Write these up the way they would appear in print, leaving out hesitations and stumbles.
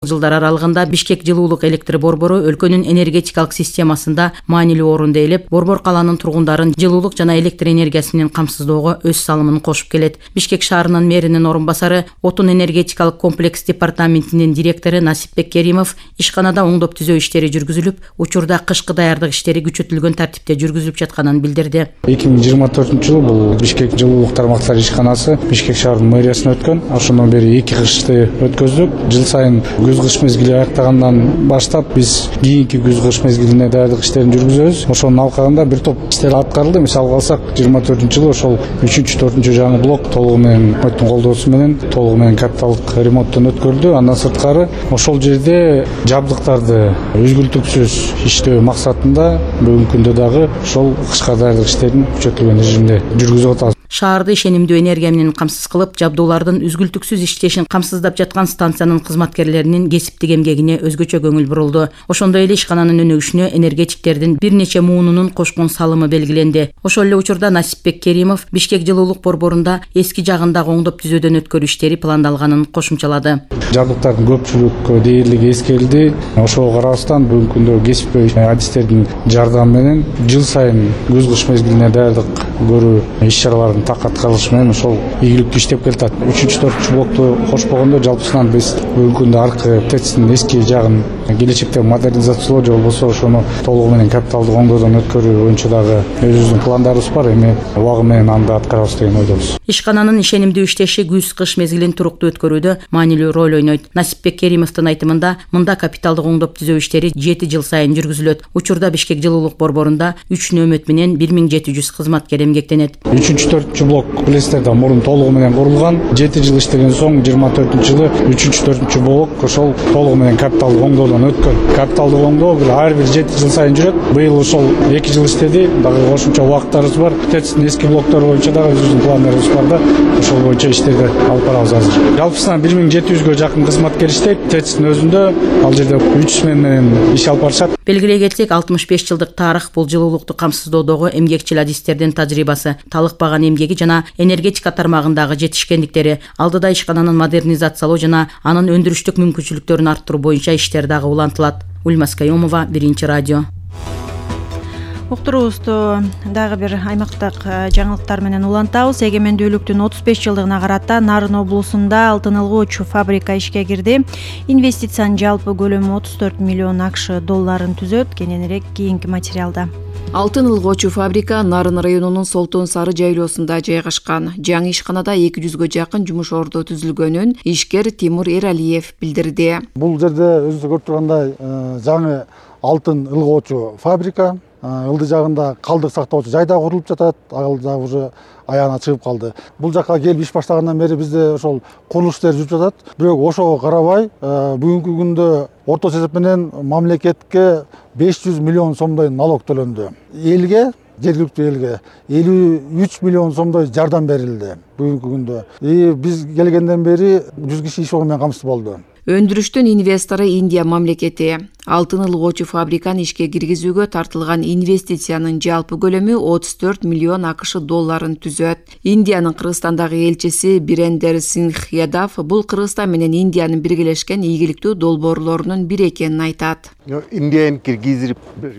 Жылдар аралыгында Бишкек жылуулук электр борбору өлкөнүн энергетикалык системасында маанилүү орунду ээлеп, Борбор калаанын тургундарын жылуулук жана электр энергиясы менен камсыздоого өз салымын кошуп келет. Бишкек шаарынын мэринин орун басары, отун энергетикалык комплекс департаментинин директору Насипбек Керимов ишканада оңдоп түзөө иштери жүргүзүлүп, учурда кышкы даярдык иштери күчөтүлгөн тартипте жүргүзүлүп жатканын билдирди. 2024-жылы бул Бишкек жылуулук тармактар ишканасы Бишкек шаарынын мэриясына өткөн. Ошондон бери 2 кышты өткөздүк. Жыл сайын күз-кыш мезгили аяктагандан баштап биз кийинки күз-кыш мезгилине даярдык иштерин жүргүзөбүз. Ошонун алкагында бир топ иштер аткарылды. Мисалы алсак, 24-жылы ошол 3-4 жаңы блок толугу менен өкмөттүн колдоосу менен толугу менен капиталдык ремонттон өткөрүлдү. Андан сырткары ошол жерде жабдыктарды үзгүлтүксүз иштөө максатында бүгүнкү күндө дагы ошол кышка даярдык иштерин күчөтүлгөн режимде жүргүзүп атабыз. Шаарды ишенимдүү энергия менен камсыз кылып, жабдуулардын үзгүлтүксүз иштешин камсыздап жаткан станциянын кызматкерлеринин кесиптик эмгегине өзгөчө көңүл бурулду. Ошондой эле ишкананын өнүгүшүнө энергетиктердин бир нече муунунун кошкон салымы белгиленди. Ошол эле учурда Насипбек Керимов Бишкек жылуулук борборунда эски жагындагы оңдоп түзөөдөн өткөрүү иштери пландалганын кошумчалады. Жабдыктардын көпчүлүк дээрлиги эскерилди. Ошого карабастан бүгүнкү күндө кесипкөй адистердин жардамы менен жыл сайын күз-кыш мезгилине даярдык көрүү иш-чараларын так аткарылышы менен ошол ийгиликтүү иштеп келатат. 3-4 блокту кошпогондо жалпысынан биз бүгүнкү күндө аркы ТЭЦтин эски жагын келечекте модернизациялоо же болбосо ошону толугу менен капиталдык оңдоодон өткөрүү боюнча дагы өзүбүздүн пландарыбыз бар. Эми убагы менен аны аткарабыз деген ойдобуз. Ишкананын ишенимдүү иштеши күз-кыш мезгилин туруктуу өткөрүүдө маанилүү роль ойнойт. Насипбек Керимовдун айтымында, мында капиталдык оңдоп түзөө иштери 7 жыл сайын жүргүзүлөт. Учурда Бишкек жылуулук борборунда 3 нөөмөт менен 1700 кызматкер эмгектенет. 3-4 блок билесиздер мурун толугу менен курулган. 7 жыл иштеген соң 24-жылы 3-4 блок ошол толугу менен капиталдык оңдоодон өткөн. Капиталдык оңдоо ар бир 7 жыл сайын жүрөт. Быйыл ошол 2 жыл иштеди. Дагы кошумча убактарыбыз бар. ТЭЦтин эски блоктору боюнча дагы өзүбүздүн пландарыбыз бар да, ошол боюнча иштерди алып барабыз азыр. Жалпысынан 1700гө жакын кызматкер иштейт. ТЭЦтин өзүндө ал жерде 3 смена менен иш алып барышат. Белгилей кетсек, 65 жылдык тарых бул жылуулукту камсыздоодогу эмгекчил адистердин тажрыйбасы, талыкпаган эмгеги жана энергетика тармагындагы жетишкендиктери, алдыда ишкананын модернизациялоо жана анын өндүрүштүк мүмкүнчүлүктөрүн арттыруу боюнча иштер дагы улантылат. Ульмас Кайомова, Биринчи радио. Уктуруубузду дагы бир аймактык жаңылыктар менен улантабыз. Эгемендүүлүктүн 35 жылдыгына карата Нарын облусунда алтын ылгоочу фабрика ишке кирди. Инвестициянын жалпы көлөмү 34 миллион АКШ долларын түзөт. Кененирээк кийинки материалда. Алтын ылгоочу фабрика Нарын районунун Солтон Сары жайлоосунда жайгашкан. Жаңы ишканада 200гө жакын жумуш орду түзүлгөнүн ишкер Тимур Эралиев билдирди. Бул жерде өзүңүз көрүп тургандай жаңы алтын ылгоочу фабрика. Ылды жагында калдык сактоочу жай да курулуп жатат. Ал жагы уже аягына чыгып калды. Бул жакка келип иш баштагандан бери бизде ошол курулуш иштери жүрүп жатат. Бирок ошого карабай, бүгүнкү күндө орточо эсеп менен мамлекетке 500 миллион сомдой налог төлөндү. Элге, жергиликтүү элге 53 миллион сомдой жардам берилди бүгүнкү күндө. Биз келгенден бери 100 киши иш орну менен камсыз болду. Өндүрүштүн инвестору Индия мамлекети. Алтын ылгоочу фабриканы ишке киргизүүгө тартылган инвестициянын жалпы көлөмү 34 миллион АКШ долларын түзөт. Индиянын Кыргызстандагы элчиси Бирендер Сингх Ядав бул Кыргызстан менен Индиянын биргелешкен ийгиликтүү долбоорлорунун бири экенин айтат.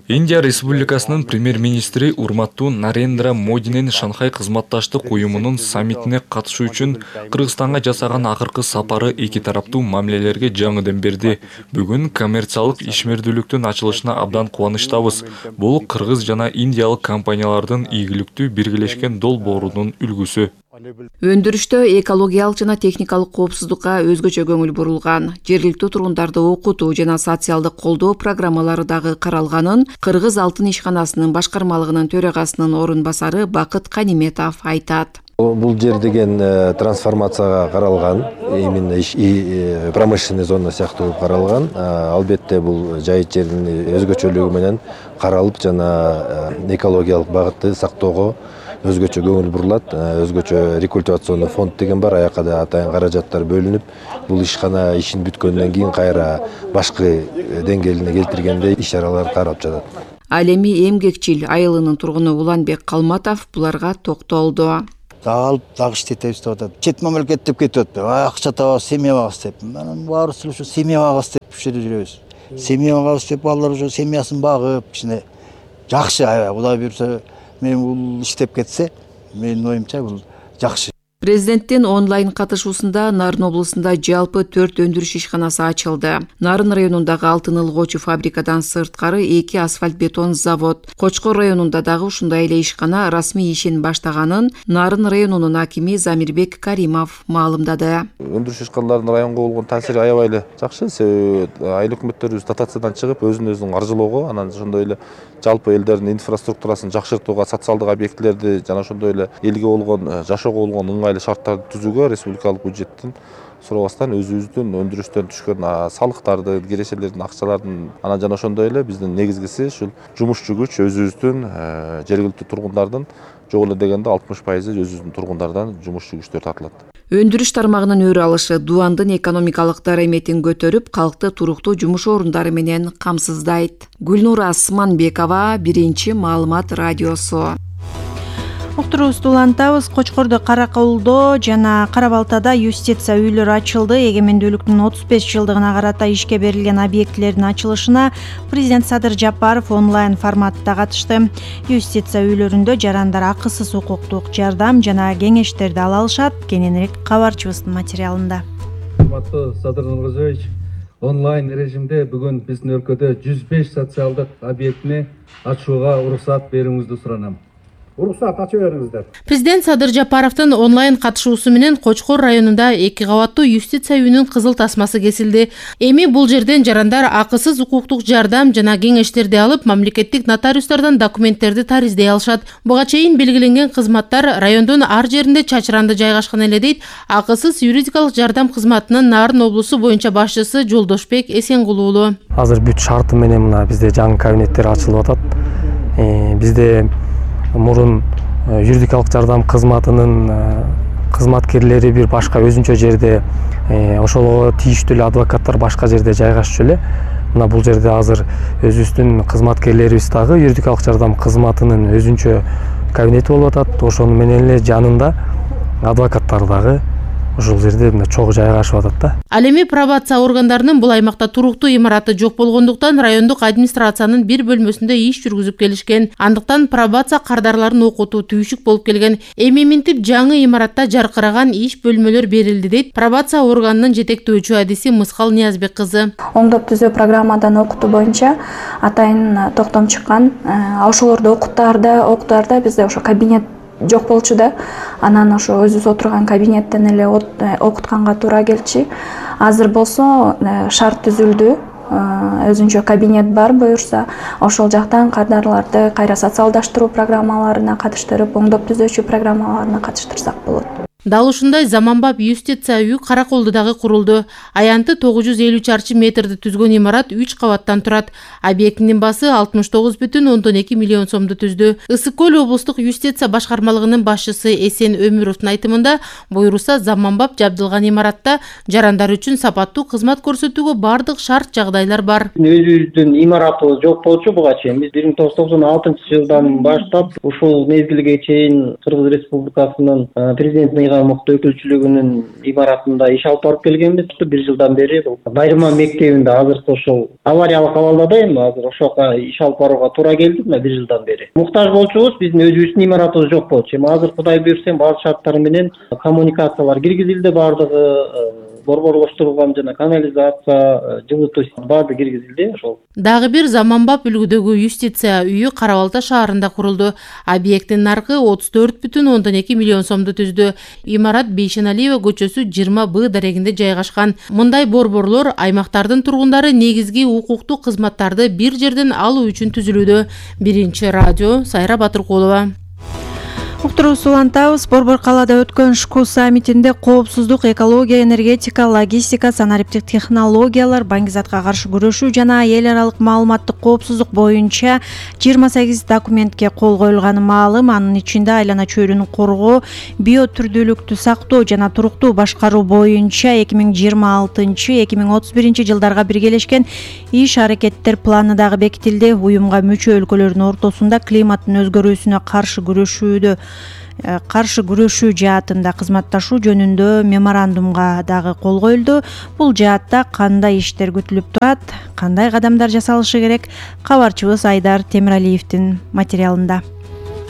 Индия Республикасынын премьер-министри урматтуу Нарендра Модинин Шанхай кызматташтык уюмунун саммитине катышуу үчүн Кыргызстанга жасаган акыркы сапары эки тараптуу мамилелерге жаңыдан берди. Бүгүн коммерциялык ишмердүүлүктүн ачылышына абдан кубанычтабыз. Бул кыргыз жана индиялык компаниялардын ийгиликтүү биргелешкен долбоорунун үлгүсү. Өндүрүштө экологиялык жана техникалык коопсуздукка өзгөчө көңүл бурулган. Жергиликтүү тургундарды окутуу жана социалдык колдоо программалары дагы каралганын Кыргыз алтын ишканасынын башкармалыгынын төрагасынын орун басары Бакыт Каниметов айтат. Бул жер деген трансформацияга каралган, именно промышленный зона сыяктуу каралган. Албетте бул жай жердин өзгөчөлүгү менен каралып жана экологиялык багытты сактоого өзгөчө көңүл бурулат. Өзгөчө рекультивационный фонд деген бар, аяка да атайын каражаттар бөлүнүп, бул ишкана ишин бүткөндөн кийин кайра башкы деңгээлине келтиргенде иш-чаралар каралып жатат. Ал эми эмгекчил айылынын тургуну Уланбек Калматов буларга токтолду. дагы алып дагы иштетебиз деп атат. Чет мамлекет деп кетип атпайбы? Акча табабыз, семья багабыз деп. Анан баарыбыз ушул семья багабыз деп ушерде жүрөбүз. Семья багабыз деп балдар ошо семьясын багып, кичине жакшы. Кудай буюрса, мен бул иштеп кетсе, менин оюмча бул жакшы. Президенттин онлайн катышуусунда Нарын облусунда жалпы 4 өндүрүш ишканасы ачылды. Нарын районундагы алтын ылгоочу фабрикадан сырткары 2 асфальт бетон завод. Кочкор районунда дагы ушундай эле ишкана расмий ишин баштаганын Нарын районунун акими Замирбек Каримов маалымдады. Өндүрүш ишканаларынын районго болгон таасири аябай эле жакшы. Себеби айыл өкмөттөрүбүз дотациядан чыгып, өзүн каржылоого, анан ошондой эле жалпы элдердин инфраструктурасын жакшыртууга, социалдык объектилерди жана ошондой эле элге болгон жашоого болгон ыңгайлуу шарттарды түзүүгө республикалык бюджеттин сурабастан өзүбүздүн өндүрүштөн түшкөн салыктарды, кирешелердин, акчалардын анан жана ошондой эле биздин негизгиси ушул жумушчу күч өзүбүздүн жергиликтүү тургундардын жок эле дегенде 60% өзүбүздүн тургундардан жумушчу күчтөр тартылат. Өндүрүш тармагынын өрү алышы Дубандын экономикалык дараметин көтөрүп, калкты туруктуу жумуш орундары менен камсыздайт. Гүлнура Асманбекова, Биринчи маалымат радиосу. Уктуруубузду улантабыз. Кочкордо, Караколдо жана Кара-Балтада юстиция үйлөрү ачылды. Эгемендүүлүктүн 35 жылдыгына карата ишке берилген объектилердин ачылышына президент Садыр Жапаров онлайн форматта катышты. Юстиция үйлөрүндө жарандар акысыз укуктук жардам жана кеңештерди ала алышат. Кененирээк кабарчыбыздын материалында. Урматтуу Садыр Нуркожоевич, онлайн режимде бүгүн биздин өлкөдө 105 социалдык объектини ачууга уруксат берүүңүздү суранам. Уруксат ачып бериңиздер. Президент Садыр Жапаровдун онлайн катышуусу менен Кочкор районунда 2 кабаттуу юстиция үйүнүн кызыл тасмасы кесилди. Эми бул жерден жарандар акысыз укуктук жардам жана кеңештерди алып, мамлекеттик нотариустардан документтерди тариздей алышат. Буга чейин белгиленген кызматтар райондун ар жеринде чачыранды жайгашкан эле дейт акысыз юридикалык жардам кызматынын Нарын облусу боюнча башчысы Жолдошбек Эсенгулуулу. Азыр бүт шарты менен мына бизде жаңы кабинеттер ачылып атат. Бизде мурун юридикалык жардам кызматынын кызматкерлери бир башка өзүнчө жерде, ошого тийиштүү эле адвокаттар башка жерде жайгашчу эле. Мына бул жерде азыр өзүбүздүн кызматкерлерибиз дагы юридикалык жардам кызматынын өзүнчө кабинети болуп атат. Ошону менен эле жанында адвокаттар дагы ушул жерде чогуу жайгашып атат да. Ал эми пробация органдарынын бул аймакта туруктуу имараты жок болгондуктан райондук администрациянын бир бөлмөсүндө иш жүргүзүп келишкен. Андыктан пробация кардарларын окутуу түйшүк болуп келген. Эми минтип жаңы имаратта жаркыраган иш бөлмөлөр берилди дейт пробация органынын жетектөөчү адиси Мыскал Ниязбек кызы. Оңдоп түзөө программадан окутуу боюнча атайын токтом чыккан. Ошолорду окутаарда бизде ошо кабинет жок болчу да. Анан ошо өзүбүз отурган кабинеттен эле окутканга туура келчү. Азыр болсо шарт түзүлдү. Өзүнчө кабинет бар, буюрса ошол жактан кардарларды кайра социалдаштыруу программаларына катыштырып, оңдоп түзөөчү программаларына катыштырсак болот. Дал ушундай заманбап юстиция үйү Караколдодагы курулду. Аянты 950 чарчы метрди түзгөн имарат 3 кабаттан турат. Объектинин басы 69,2 миллион сомду түздү. Ысык Көл облустук юстиция башкармалыгынын башчысы Эсен Өмүровдун айтымында, буйруса заманбап жабдылган имаратта жарандар үчүн сапаттуу кызмат көрсөтүүгө бардык шарт жагдайлар бар. Өзүбүздүн имаратыбыз жок болчу буга чейин. Биз 1996-жылдан баштап ушул мезгилге чейин Кыргыз Республикасынын президентинин мыкты өкүлчүлүгүнүн имаратында иш алып барып келгенбиз. 1 жылдан бери бул Байырма мектебинде азыркы ошол авариялык абалда да эми азыр ошого иш алып барууга туура келди. 1 жылдан бери муктаж болчубуз, биздин өзүбүздүн имаратыбыз жок болчу. Эми азыр Кудай буйрса баардык шарттар менен коммуникациялар киргизилди, баардыгы борборлоштурулган жана канализация, жылытуу баардыгы киргизилди. Ошол дагы бир заманбап үлгүдөгү юстиция үйү Кара-Балта шаарында курулду. Объекттин наркы 34,2 миллион сомду түздү. Имарат Бейшеналиева көчөсү 20Б дарегинде жайгашкан. Мындай борборлор аймактардын тургундары негизги укуктук кызматтарды бир жерден алуу үчүн түзүлүүдө. Биринчи радио, Сайра Батыркулова. Уктуруубузду улантабыз. Борбор калаада өткөн ШКУ саммитинде коопсуздук, экология, энергетика, логистика, санариптик технологиялар, баңгизатка каршы күрөшүү жана эл аралык маалыматтык коопсуздук боюнча 28 документке кол коюлганы маалым. Анын ичинде айлана чөйрөнү коргоо, биотүрдүүлүктү сактоо жана туруктуу башкаруу боюнча 2026-2031 жылдарга биргелешкен иш-аракеттер планы дагы бекитилди. Уюмга мүчө өлкөлөрдүн ортосунда климаттын өзгөрүүсүнө каршы күрөшүүдө каршы күрөшүү жаатында кызматташуу жөнүндө меморандумга дагы кол коюлду. Бул жаатта кандай иштер күтүлүп турат, кандай кадамдар жасалышы керек? Кабарчыбыз Айдар Темиралиевдин материалында.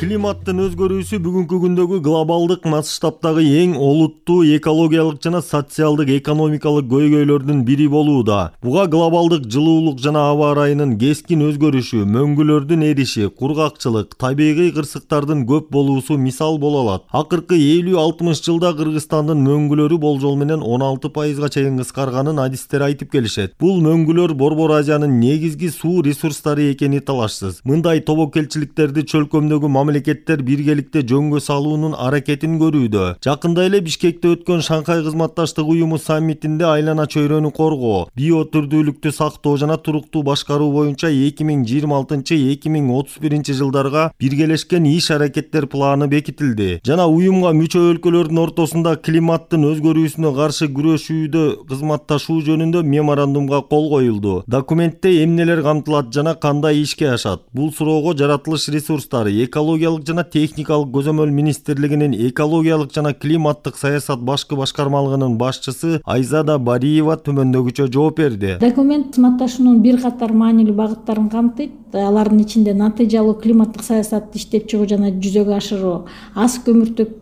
Климаттын өзгөрүүсү бүгүнкү күндөгү глобалдык масштабтагы эң олуттуу экологиялык жана социалдык экономикалык көйгөйлөрдүн бири болууда. Буга глобалдык жылуулук жана аба ырайынын кескин өзгөрүшү, мөңгүлөрдүн эриши, кургакчылык, табигый кырсыктардын көп болуусу мисал боло алат. Акыркы 50-60 жылда Кыргызстандын мөңгүлөрү болжол менен 16%га чейин кыскарганын адистер айтып келишет. Бул мөңгүлөр Борбор Азиянын негизги суу ресурстары экени талашсыз. Мындай тобокелчиликтерди чөлкөмдөгү мамлекеттер биргеликте жөнгө салуунун аракетин көрүүдө. Жакында эле Бишкекте өткөн Шанхай кызматташтык уюму саммитинде айлана чөйрөнү коргоо, биотүрдүүлүктү сактоо жана туруктуу башкаруу боюнча 2026-2031 жылдарга биргелешкен иш-аракеттер планы бекитилди. Жана уюмга мүчө өлкөлөрдүн ортосунда климаттын өзгөрүүсүнө каршы күрөшүүдө кызматташуу жөнүндө меморандумга кол коюлду. Документте эмнелер камтылат жана кандай ишке ашат? Бул суроого жаратылыш ресурстары, экологиялык жана техникалык көзөмөл министрлигинин экологиялык жана климаттык саясат башкы башкармалыгынын башчысы Айзада Бариева төмөндөгүчө жооп берди. Документ кызматташуунун бир катар маанилүү багыттарын камтыйт. Алардын ичинде натыйжалуу климаттык саясатты иштеп чыгуу жана жүзөгө ашыруу, аз көмүртөктүү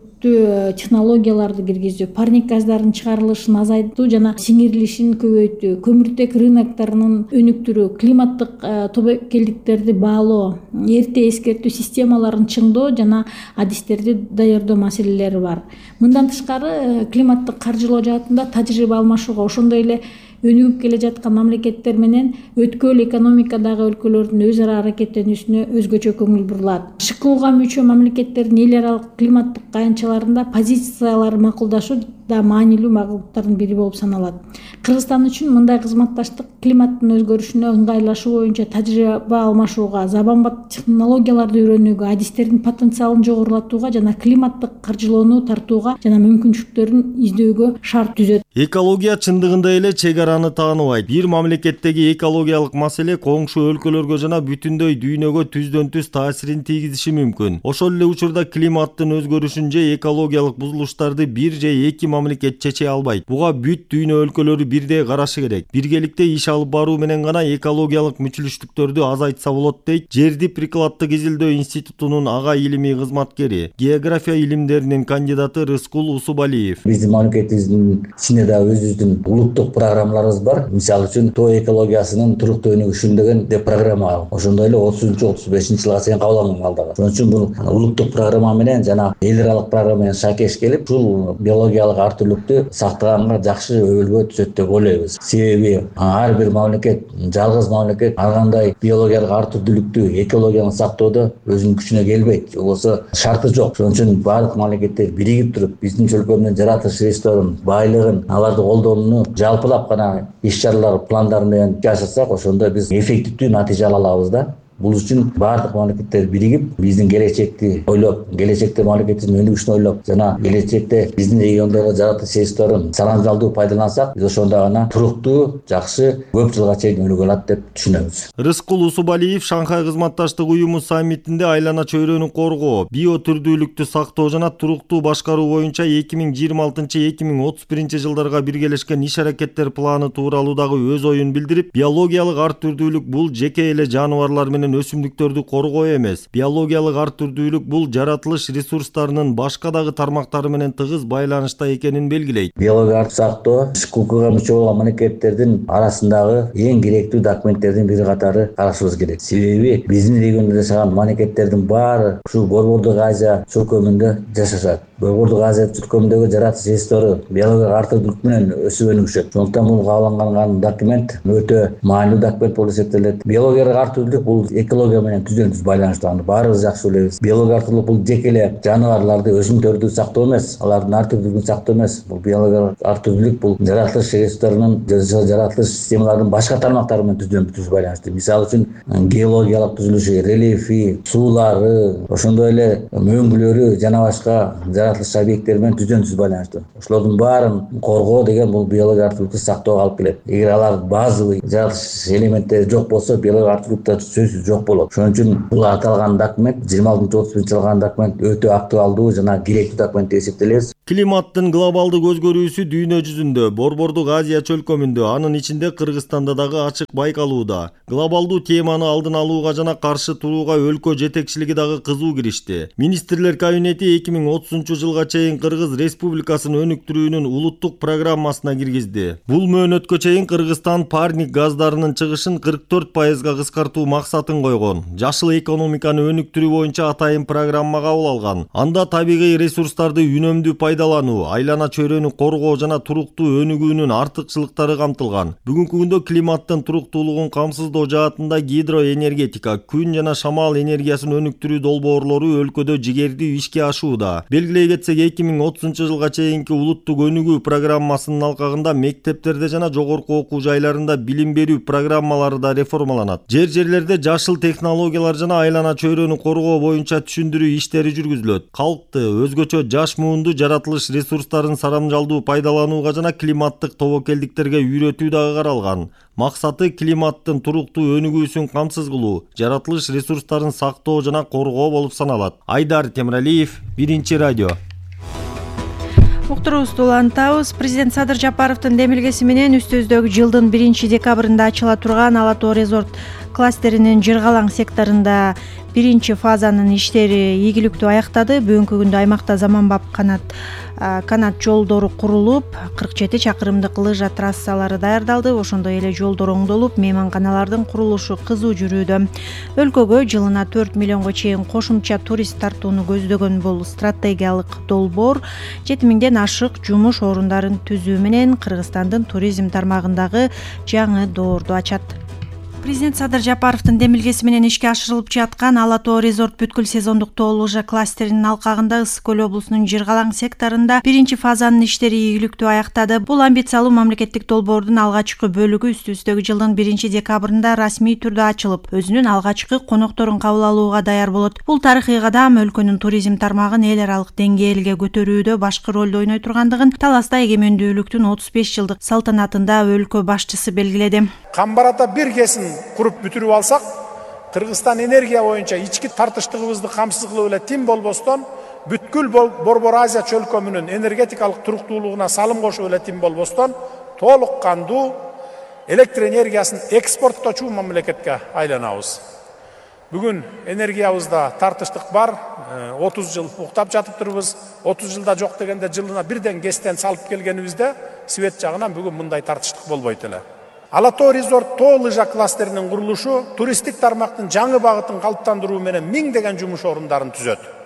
технологияларды киргизүү, парник газдарын чыгарылышын азайтуу жана сиңирилишин көбөйтүү, көмүртек рынокторунун өнүктүрүү, климаттык тобокелдиктерди баалоо, эрте эскертүү системаларын чыңдоо жана адистерди даярдоо маселелери бар. Мындан тышкары климаттык каржылоо жаатында тажрыйба алмашууга, ошондой эле өнүгүп келе жаткан мамлекеттер менен өткөл экономикадагы өлкөлөрдүн өз ара аракеттенүүсүнө өзгөчө көңүл бурулат. ШКУга мүчө мамлекеттердин эл аралык климаттык каянчаларында позициялары макулдашуу да маанилүү багыттардын бири болуп саналат. Кыргызстан үчүн мындай кызматташтык климаттын өзгөрүшүнө ыңгайлашуу боюнча тажрыйба алмашууга, заманбап технологияларды үйрөнүүгө, адистердин потенциалын жогорулатууга жана климаттык каржылоону тартууга жана мүмкүнчүлүктөрүн издөөгө шарт түзөт. Экология чындыгында эле чегараны тааныбайт. Бир мамлекеттеги экологиялык маселе коңшу өлкөлөргө жана бүтүндөй дүйнөгө түздөн-түз таасирин тийгизиши мүмкүн. Ошол эле учурда климаттын өзгөрүшүн же экологиялык бузулуштарды бир же эки мамлекет чече албайт. Буга бүт дүйнө өлкөлөрү бирдей карашы керек. Биргеликте иш алып баруу менен гана экологиялык мүчүлүштүктөрдү азайтса болот дейт Жерди прикладдык изилдөө институтунун ага илимий кызматкери, география илимдеринин кандидаты Рыскул Усубалиев. Биздин мамлекетибиздин ичинде да өзүбүздүн улуттук программаларыбыз бар. Мисалы үчүн тоо экологиясынын туруктуу өнүгүшүн деген программа. Ошондой эле 30-35 жылга чейин кабыл алынган. Ошон үчүн бул улуттук программа менен жана эл аралык программа менен шакеш келип, ушул биологиялык ар түрлүктү сактаганга жакшы өбөлгө түзөт деп ойлойбуз. Себеби ар бир мамлекет, жалгыз мамлекет ар кандай биологиялык ар түрдүүлүктү, экологияны сактоодо өзүнүн күчүнө келбейт. Болбосо шарты жок. Ошон үчүн баардык мамлекеттер биригип туруп, биздин чөлкөмдүн жаратылыш ресурстарын, байлыгын, аларды колдонууну жалпылап гана иш-чаралар пландары менен жашасак, ошондо биз эффективдүү натыйжа ала алабыз да. Бул үчүн баардык мамлекеттер биригип, биздин келечекти ойлоп, келечекте мамлекетибиздин өнүгүшүн ойлоп, жана келечекте биздин региондорго жаратылыш ресурстарын саламдалдуу пайдалансак, биз ошондо гана туруктуу, жакшы, көп жылга чейин өнүгө алат деп түшүнөбүз. Рыскул Усубалиев Шанхай кызматташтык уюму саммитинде айлана чөйрөнү коргоо, биотүрдүүлүктү сактоо жана туруктуу башкаруу боюнча 2026-2031 жылдарга биргелешкен иш-аракеттер планы тууралуу дагы өз оюн билдирип, биологиялык ар түрдүүлүк бул жеке эле жаныбарлар менен өсүмдүктөрдү коргоо эмес. Биологиялык ар түрдүүлүк бул жаратылыш ресурстарынын башка дагы тармактары менен тыгыз байланышта экенин белгилейт. Биологиялык сактоо ШКУга мүчө болгон мамлекеттердин арасындагы эң керектүү документтердин бири катары карашыбыз керек. Себеби биздин региондо жашаган мамлекеттердин баары ушу Борбордук Азия чөлкөмүндө жашашат. Борбордук Азия чөлкөмүндөгү жаратылыш ресурстары биологиялык ар түрдүүлүк менен өсүп өнүгүшөт. Ошондуктан бул кабыл алынган документ өтө маанилүү документ болуп эсептелет. Биологиялык ар түрдүүлүк бул экология менен түздөн-түз байланыштуу. Баарыбыз жакшы билебиз. Биологиялык ар түрдүүлүк бул жеке эле жаныбарларды, өсүмдүктөрдү сактоо эмес, алардын ар түрдүүлүгүн сактоо эмес. Бул биологиялык ар түрдүүлүк бул жаратылыш ресурстарынын, жаратылыш системаларынын башка тармактары менен түздөн-түз байланыштуу. Мисалы үчүн геологиялык түзүлүшү, рельефи, суулары, ошондой эле мөңгүлөрү жана башка жаратылыш объекттери менен түздөн-түз байланыштуу. Ошолордун баарын коргоо деген бул биологиялык ар түрдүүлүктү сактоого алып келет. Эгер алар базовый жаратылыш элементтери жок болсо, биологиялык ар түрдүүлүк сөзсүз жок болот. Ошон үчүн бул аталган документ 26-31 жылган документ өтө актуалдуу жана керектүү документ деп эсептелет. Климаттын глобалдык өзгөрүүсү дүйнө жүзүндө, Борбордук Азия чөлкөмүндө, анын ичинде Кыргызстанда дагы ачык байкалууда. Глобалдуу теманы алдын алууга жана каршы турууга өлкө жетекчилиги дагы кызуу киришти. Министрлер кабинети 2030 жылга чейин Кыргыз Республикасын өнүктүрүүнүн улуттук программасына киргизди. Бул мөөнөткө чейин Кыргызстан парник газдарынын чыгышын 44%га кыскартуу максатын койгон. Жашыл экономиканы өнүктүрүү боюнча атайын программа кабыл алган. Анда табигый ресурстарды үнөмдүү пайдалануу, айлана чөйрөнү коргоо жана туруктуу өнүгүүнүн артыкчылыктары камтылган. Бүгүнкү күндө климаттын туруктуулугун камсыздоо жаатында гидроэнергетика, күн жана шамал энергиясын өнүктүрүү долбоорлору өлкөдө жигердүү ишке ашууда. Белгилей кетсек, 2030 жылга чейинки улуттук өнүгүү программасынын алкагында мектептерде жана жогорку окуу жайларында билим берүү программалары да реформаланат. Жерлерде жашыл технологиялар жана айлана чөйрөнү коргоо боюнча түшүндүрүү иштери жүргүзүлөт. Калкты өзгөчө жаш муунду жаратылыш ресурстарын сарамжалдуу пайдаланууга жана климаттык тобокелдиктерге үйрөтүү дагы каралган. Максаты климаттын туруктуу өнүгүүсүн камсыз кылуу, жаратылыш ресурстарын сактоо жана коргоо болуп саналат. Айдар Темиралиев, Биринчи радио. Уктуруубузду улантабыз. Президент Садыр Жапаровдун демилгеси менен үстүбүздөгү жылдын 1-декабрында ачыла турган Ала Тоо резорт кластеринин Жыргалаң секторунда биринчи фазанын иштери ийгиликтүү аяктады. Бүгүнкү күндө аймакта заманбап канат жолдору курулуп, 47 чакырымдык лыжа трассалары даярдалды. Ошондой эле жолдор оңдолуп, мейманканалардын курулушу кызуу жүрүүдө. Өлкөгө жылына 4 миллионго чейин кошумча турист тартууну көздөгөн бул стратегиялык долбоор 7000ден ашык жумуш орундарын түзүү менен Кыргызстандын туризм тармагындагы жаңы доорду ачат. Президент Садыр Жапаровдун демилгеси менен ишке ашырылып жаткан Ала Тоо резорт бүткүл сезондук тоо лыжа кластеринин алкагында Ысык көл облусунун Жыргалаң секторунда биринчи фазанын иштери ийгиликтүү аяктады. Бул амбициялуу мамлекеттик долбоордун алгачкы бөлүгү үстүбүздөгү жылдын 1-декабрында расмий түрдө ачылып, өзүнүн алгачкы конокторун кабыл алууга даяр болот. Бул тарыхый кадам өлкөнүн туризм тармагын эл аралык деңгээлге көтөрүүдө башкы ролду ойной тургандыгын Таласта эгемендүүлүктүн 35 жылдык салтанатында өлкө башчысы белгиледи. Камбарата бир кесин куруп бүтүрүп алсак, Кыргызстан энергия боюнча ички тартыштыгыбызды камсыз кылып эле тим болбостон, бүткүл Борбор Азия чөлкөмүнүн энергетикалык туруктуулугуна салым кошуп эле тим болбостон, толук кандуу электр энергиясын экспорттоочу мамлекетке айланабыз. Бүгүн энергиябызда тартыштык бар, 30 жыл уктап жатып турбуз. 30 жылда жок дегенде жылына бирден кестен салып келгенибизде свет жагынан бүгүн мындай тартыштык болбойт эле. Ала Тоо резорт тоо лыжа кластеринин курулушу туристтик тармактын жаңы багытын калыптандыруу менен миңдеген жумуш орундарын түзөт.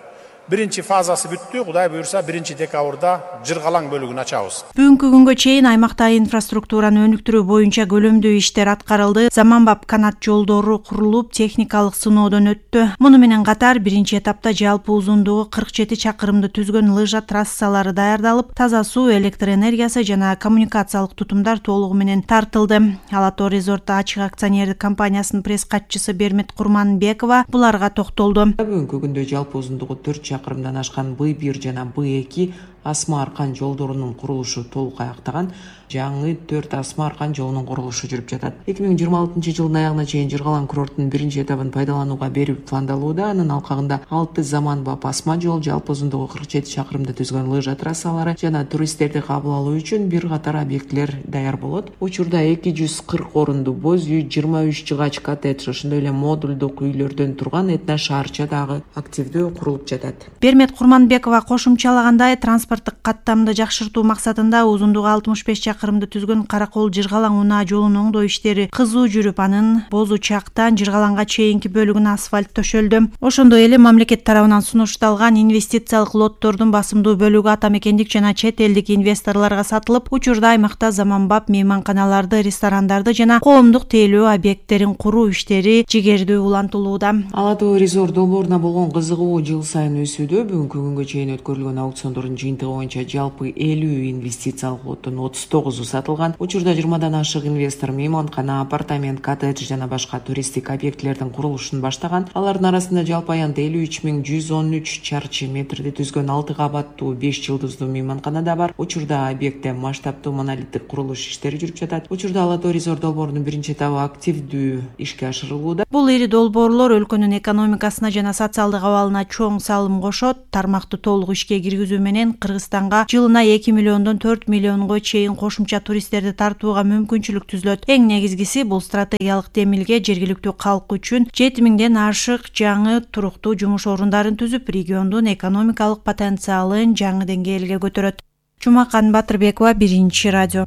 Биринчи фазасы бүттү, Кудай буюрса 1-декабрда Жыргалаң бөлүгүн ачабыз. Бүгүнкү күнгө чейин аймакта инфраструктураны өнүктүрүү боюнча көлөмдүү иштер аткарылды. Заманбап канат жолдору курулуп, техникалык сыноодон өттү. Муну менен катар биринчи этапта жалпы узундугу 47 чакырымды түзгөн лыжа трассалары даярдалып, таза суу, электр энергиясы жана коммуникациялык тутумдар толугу менен тартылды. Ала Тоо резорт ачык акционердик компаниясынын пресс катчысы Бермет Курманбекова буларга токтолду. Бүгүнкү күндө жалпы узундугу 4 чакырымдан ашкан Б1 жана Б2 асма аркан жолдорунун курулушу толук аяктаган. Жаңы 4 асма аркан жолунун курулушу жүрүп жатат. 2026 жылдын аягына чейин Жыргалаң курортунун биринчи этабын пайдаланууга берүү пландалууда. Анын алкагында 6 заманбап асма жол, жалпы узундугу 47 чакырымды түзгөн лыжа трассалары жана туристтерди кабыл алуу үчүн бир катар объектилер даяр болот. Учурда 240 орунду боз үй, 23 жыгач коттедж, ошондой эле модулдук үйлөрдөн турган этно шаарча дагы активдүү курулуп жатат. Бермет Курманбекова кошумчалагандай, транспорттук каттамды жакшыртуу максатында узундугу 65 чакырымды түзгөн Каракол Жыргалаң унаа жолунун оңдоо иштери кызуу жүрүп, анын Боз Учактан Жыргалаңга чейинки бөлүгүнө асфальт төшөлдү. Ошондой эле мамлекет тарабынан сунушталган инвестициялык лоттордун басымдуу бөлүгү ата мекендик жана чет элдик инвесторлорго сатылып, учурда аймакта заманбап мейманканаларды, ресторандарды жана коомдук тейлөө объекттерин куруу иштери жигердүү улантылууда. Ала Тоо резорт долбооруна болгон кызыгуу жыл сайын өсүүдө. Бүгүнкү күнгө чейин өткөрүлгөн аукциондордун жыйынтыгы агенттиги боюнча жалпы 50 инвестициялык лоттун 39 сатылган. Учурда 20дан ашык инвестор мейманкана, апартамент, коттедж жана башка туристтик объектилердин курулушун баштаган. Алардын арасында жалпы аянда 53.113 чарчы метрди түзгөн 6 кабаттуу 5 жылдыздуу мейманкана да бар. Учурда объектте масштабтуу монолиттик курулуш иштери жүрүп жатат. Учурда Ала Тоо резорт долбоорунун биринчи этабы активдүү ишке ашырылууда. Бул ири долбоорлор өлкөнүн экономикасына жана социалдык абалына чоң салым кошот. Тармакты толук ишке киргизүү менен Кыргызстанга жылына 2 миллиондон 4 миллионго чейин кошумча туристтерди тартууга мүмкүнчүлүк түзүлөт. Эң негизгиси бул стратегиялык демилге жергиликтүү калк үчүн 7000ден ашык жаңы туруктуу жумуш орундарын түзүп, региондун экономикалык потенциалын жаңы деңгээлге көтөрөт. Жумакан Батырбекова, Биринчи радио.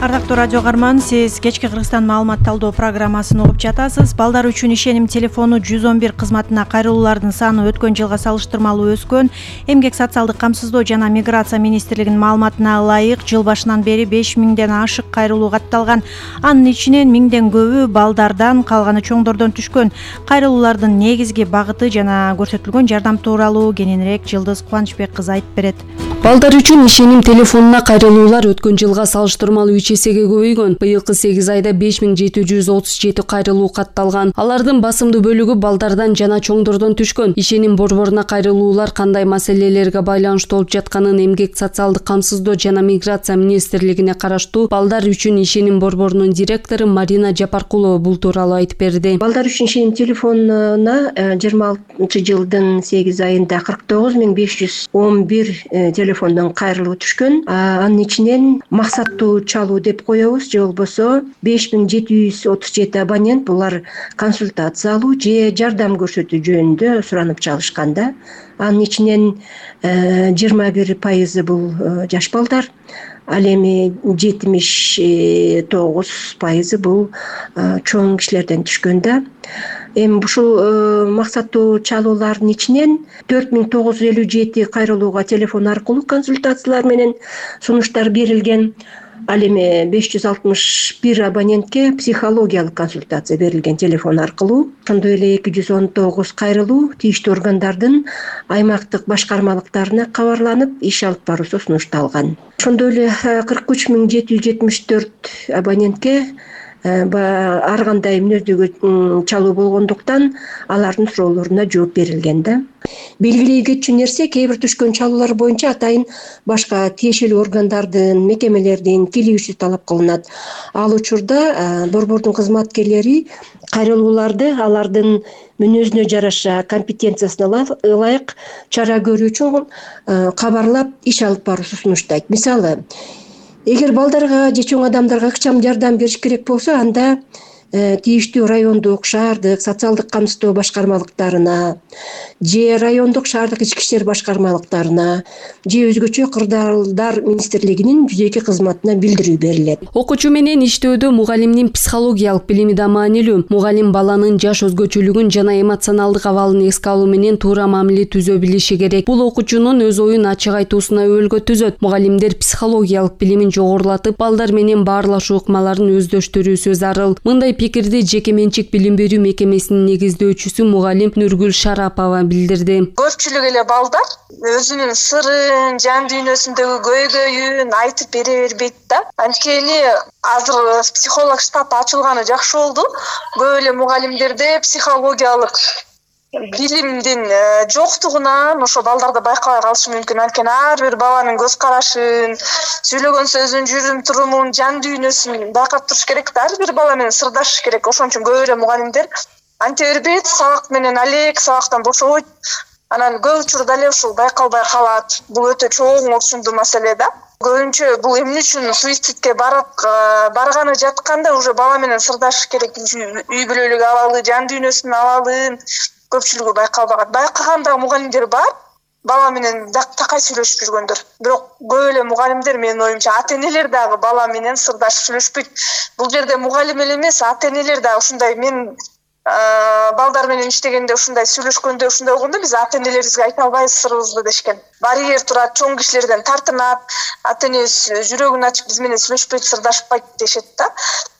Ардактуу радио каарман, сиз кечки Кыргызстан маалымат талдоо программасын угуп жатасыз. Балдар үчүн ишеним телефону 111 кызматына кайрылуулардын саны өткөн жылга салыштырмалуу өскөн. Эмгек социалдык камсыздоо жана миграция министрлигинин маалыматына ылайык, жыл башынан бери 5000ден ашык кайрылуу катталган. Анын ичинен 1000ден көбү балдардан, калганы чоңдордон түшкөн. Кайрылуулардын негизги багыты жана көрсөтүлгөн жардам тууралуу кененирээк Жылдыз Кубанычбек кызы айтып берет. Балдар үчүн ишеним телефонуна кайрылуулар өткөн жылга салыштырмалуу 3 эсеге көбөйгөн. Быйылкы 8 айда 5737 кайрылуу катталган. Алардын басымдуу бөлүгү балдардан жана чоңдордон түшкөн. Ишеним борборуна кайрылуулар кандай маселелерге байланыштуу болуп жатканын Эмгек социалдык камсыздоо жана миграция министрлигине караштуу Балдар үчүн ишеним борборунун директору Марина Жапаркулова бул тууралуу айтып берди. Балдар үчүн ишеним телефонуна 26 жылдын 8 айында 49511 телефондон кайрылуу түшкөн. Анын ичинен максаттуу чалуу деп коебуз, же болбосо 5737 абонент булар консультация алуу же жардам көрсөтүү жөнүндө суранып чалышканда. Анын ичинен 21% бул жаш балдар, ал эми 79% бул чоң кишилерден түшкөндө. Эми ушул максаттуу чалуулардын ичинен 4957 кайрылууга телефон аркылуу консультациялар менен сунуштар берилген. Ал эми 561 абонентке психологиялык консультация берилген телефон аркылуу. Ошондой эле 219 кайрылуу тийиштүү органдардын аймактык башкармалыктарына кабарланып, иш алып баруусу сунушталган. Ошондой эле 43774 абонентке ар кандай мүнөздөгү чалуу болгондуктан алардын суроолоруна жооп берилген да. Белгилей кетчү нерсе, кээ бир түшкөн чалуулар боюнча атайын башка тиешелүү органдардын, мекемелердин келишүүсү талап кылынат. Ал учурда борбордун кызматкерлери кайрылууларды алардын мүнөзүнө жараша, компетенциясына ылайык чара көрүү үчүн кабарлап, иш алып баруусу сунуштайт. Мисалы, эгер балдарга же чоң адамдарга ыкчам жардам бериш керек болсо, анда тийиштүү райондук, шаардык социалдык камсыздоо башкармалыктарына же райондук шаардык ички иштер башкармалыктарына же өзгөчө кырдаалдар министрлигинин жүзөкү кызматына билдирүү берилет. Окуучу менен иштөөдө мугалимдин психологиялык билими да маанилүү. Мугалим баланын жаш өзгөчөлүгүн жана эмоционалдык абалын эске алуу менен туура мамиле түзө билиши керек. Бул окуучунун өз оюн ачык айтуусуна өбөлгө түзөт. Мугалимдер психологиялык билимин жогорулатып, балдар менен баарлашуу ыкмаларын өздөштүрүүсү зарыл. Мындай пикирди жеке менчик билим берүү мекемесинин негиздөөчүсү мугалим Нургүл Шарапова билдирди. Көпчүлүк эле балдар өзүнүн сырын, жан дүйнөсүндөгү көйгөйүн айтып бере бербейт да. Анткени азыр психолог штаб ачылганы жакшы болду. Көп эле мугалимдерде психологиялык билимдин жоктугунан ошо балдарда байкабай калышы мүмкүн. Анткени ар бир баланын көз карашын, сүйлөгөн сөзүн, жүрүм турумун, жан дүйнөсүн байкап туруш керек да. Ар бир бала менен сырдашыш керек. Ошон үчүн көп эле мугалимдер анте бербейт, сабак менен алек, сабактан бошобойт. Анан көп учурда эле ушул байкалбай калат. Бул өтө чоң орчундуу маселе да. Көбүнчө бул эмне үчүн суицидке барганы жатканда уже бала менен сырдашыш керек. Үй бүлөлүк абалы, жан дүйнөсүнүн абалын көпчүлүгү байкалбаган. Байкаган мугалимдер бар, бала менен такай сүйлөшүп жүргөндөр. Бирок көп эле мугалимдер, менин оюмча, ата-энелер дагы бала менен сырдашып сүйлөшпөйт. Бул жерде мугалим эле эмес, ата-энелер дагы ушундай, мен балдар менен иштегенде ушундай сүйлөшкөндө, ушундай болгондо биз ата-энелерибизге айта албайбыз сырыбызды дешкен. Барьер турат, чоң кишилерден тартынат, ата-энебиз жүрөгүн ачып биз менен сүйлөшпөйт, сырдашпайт дешет да.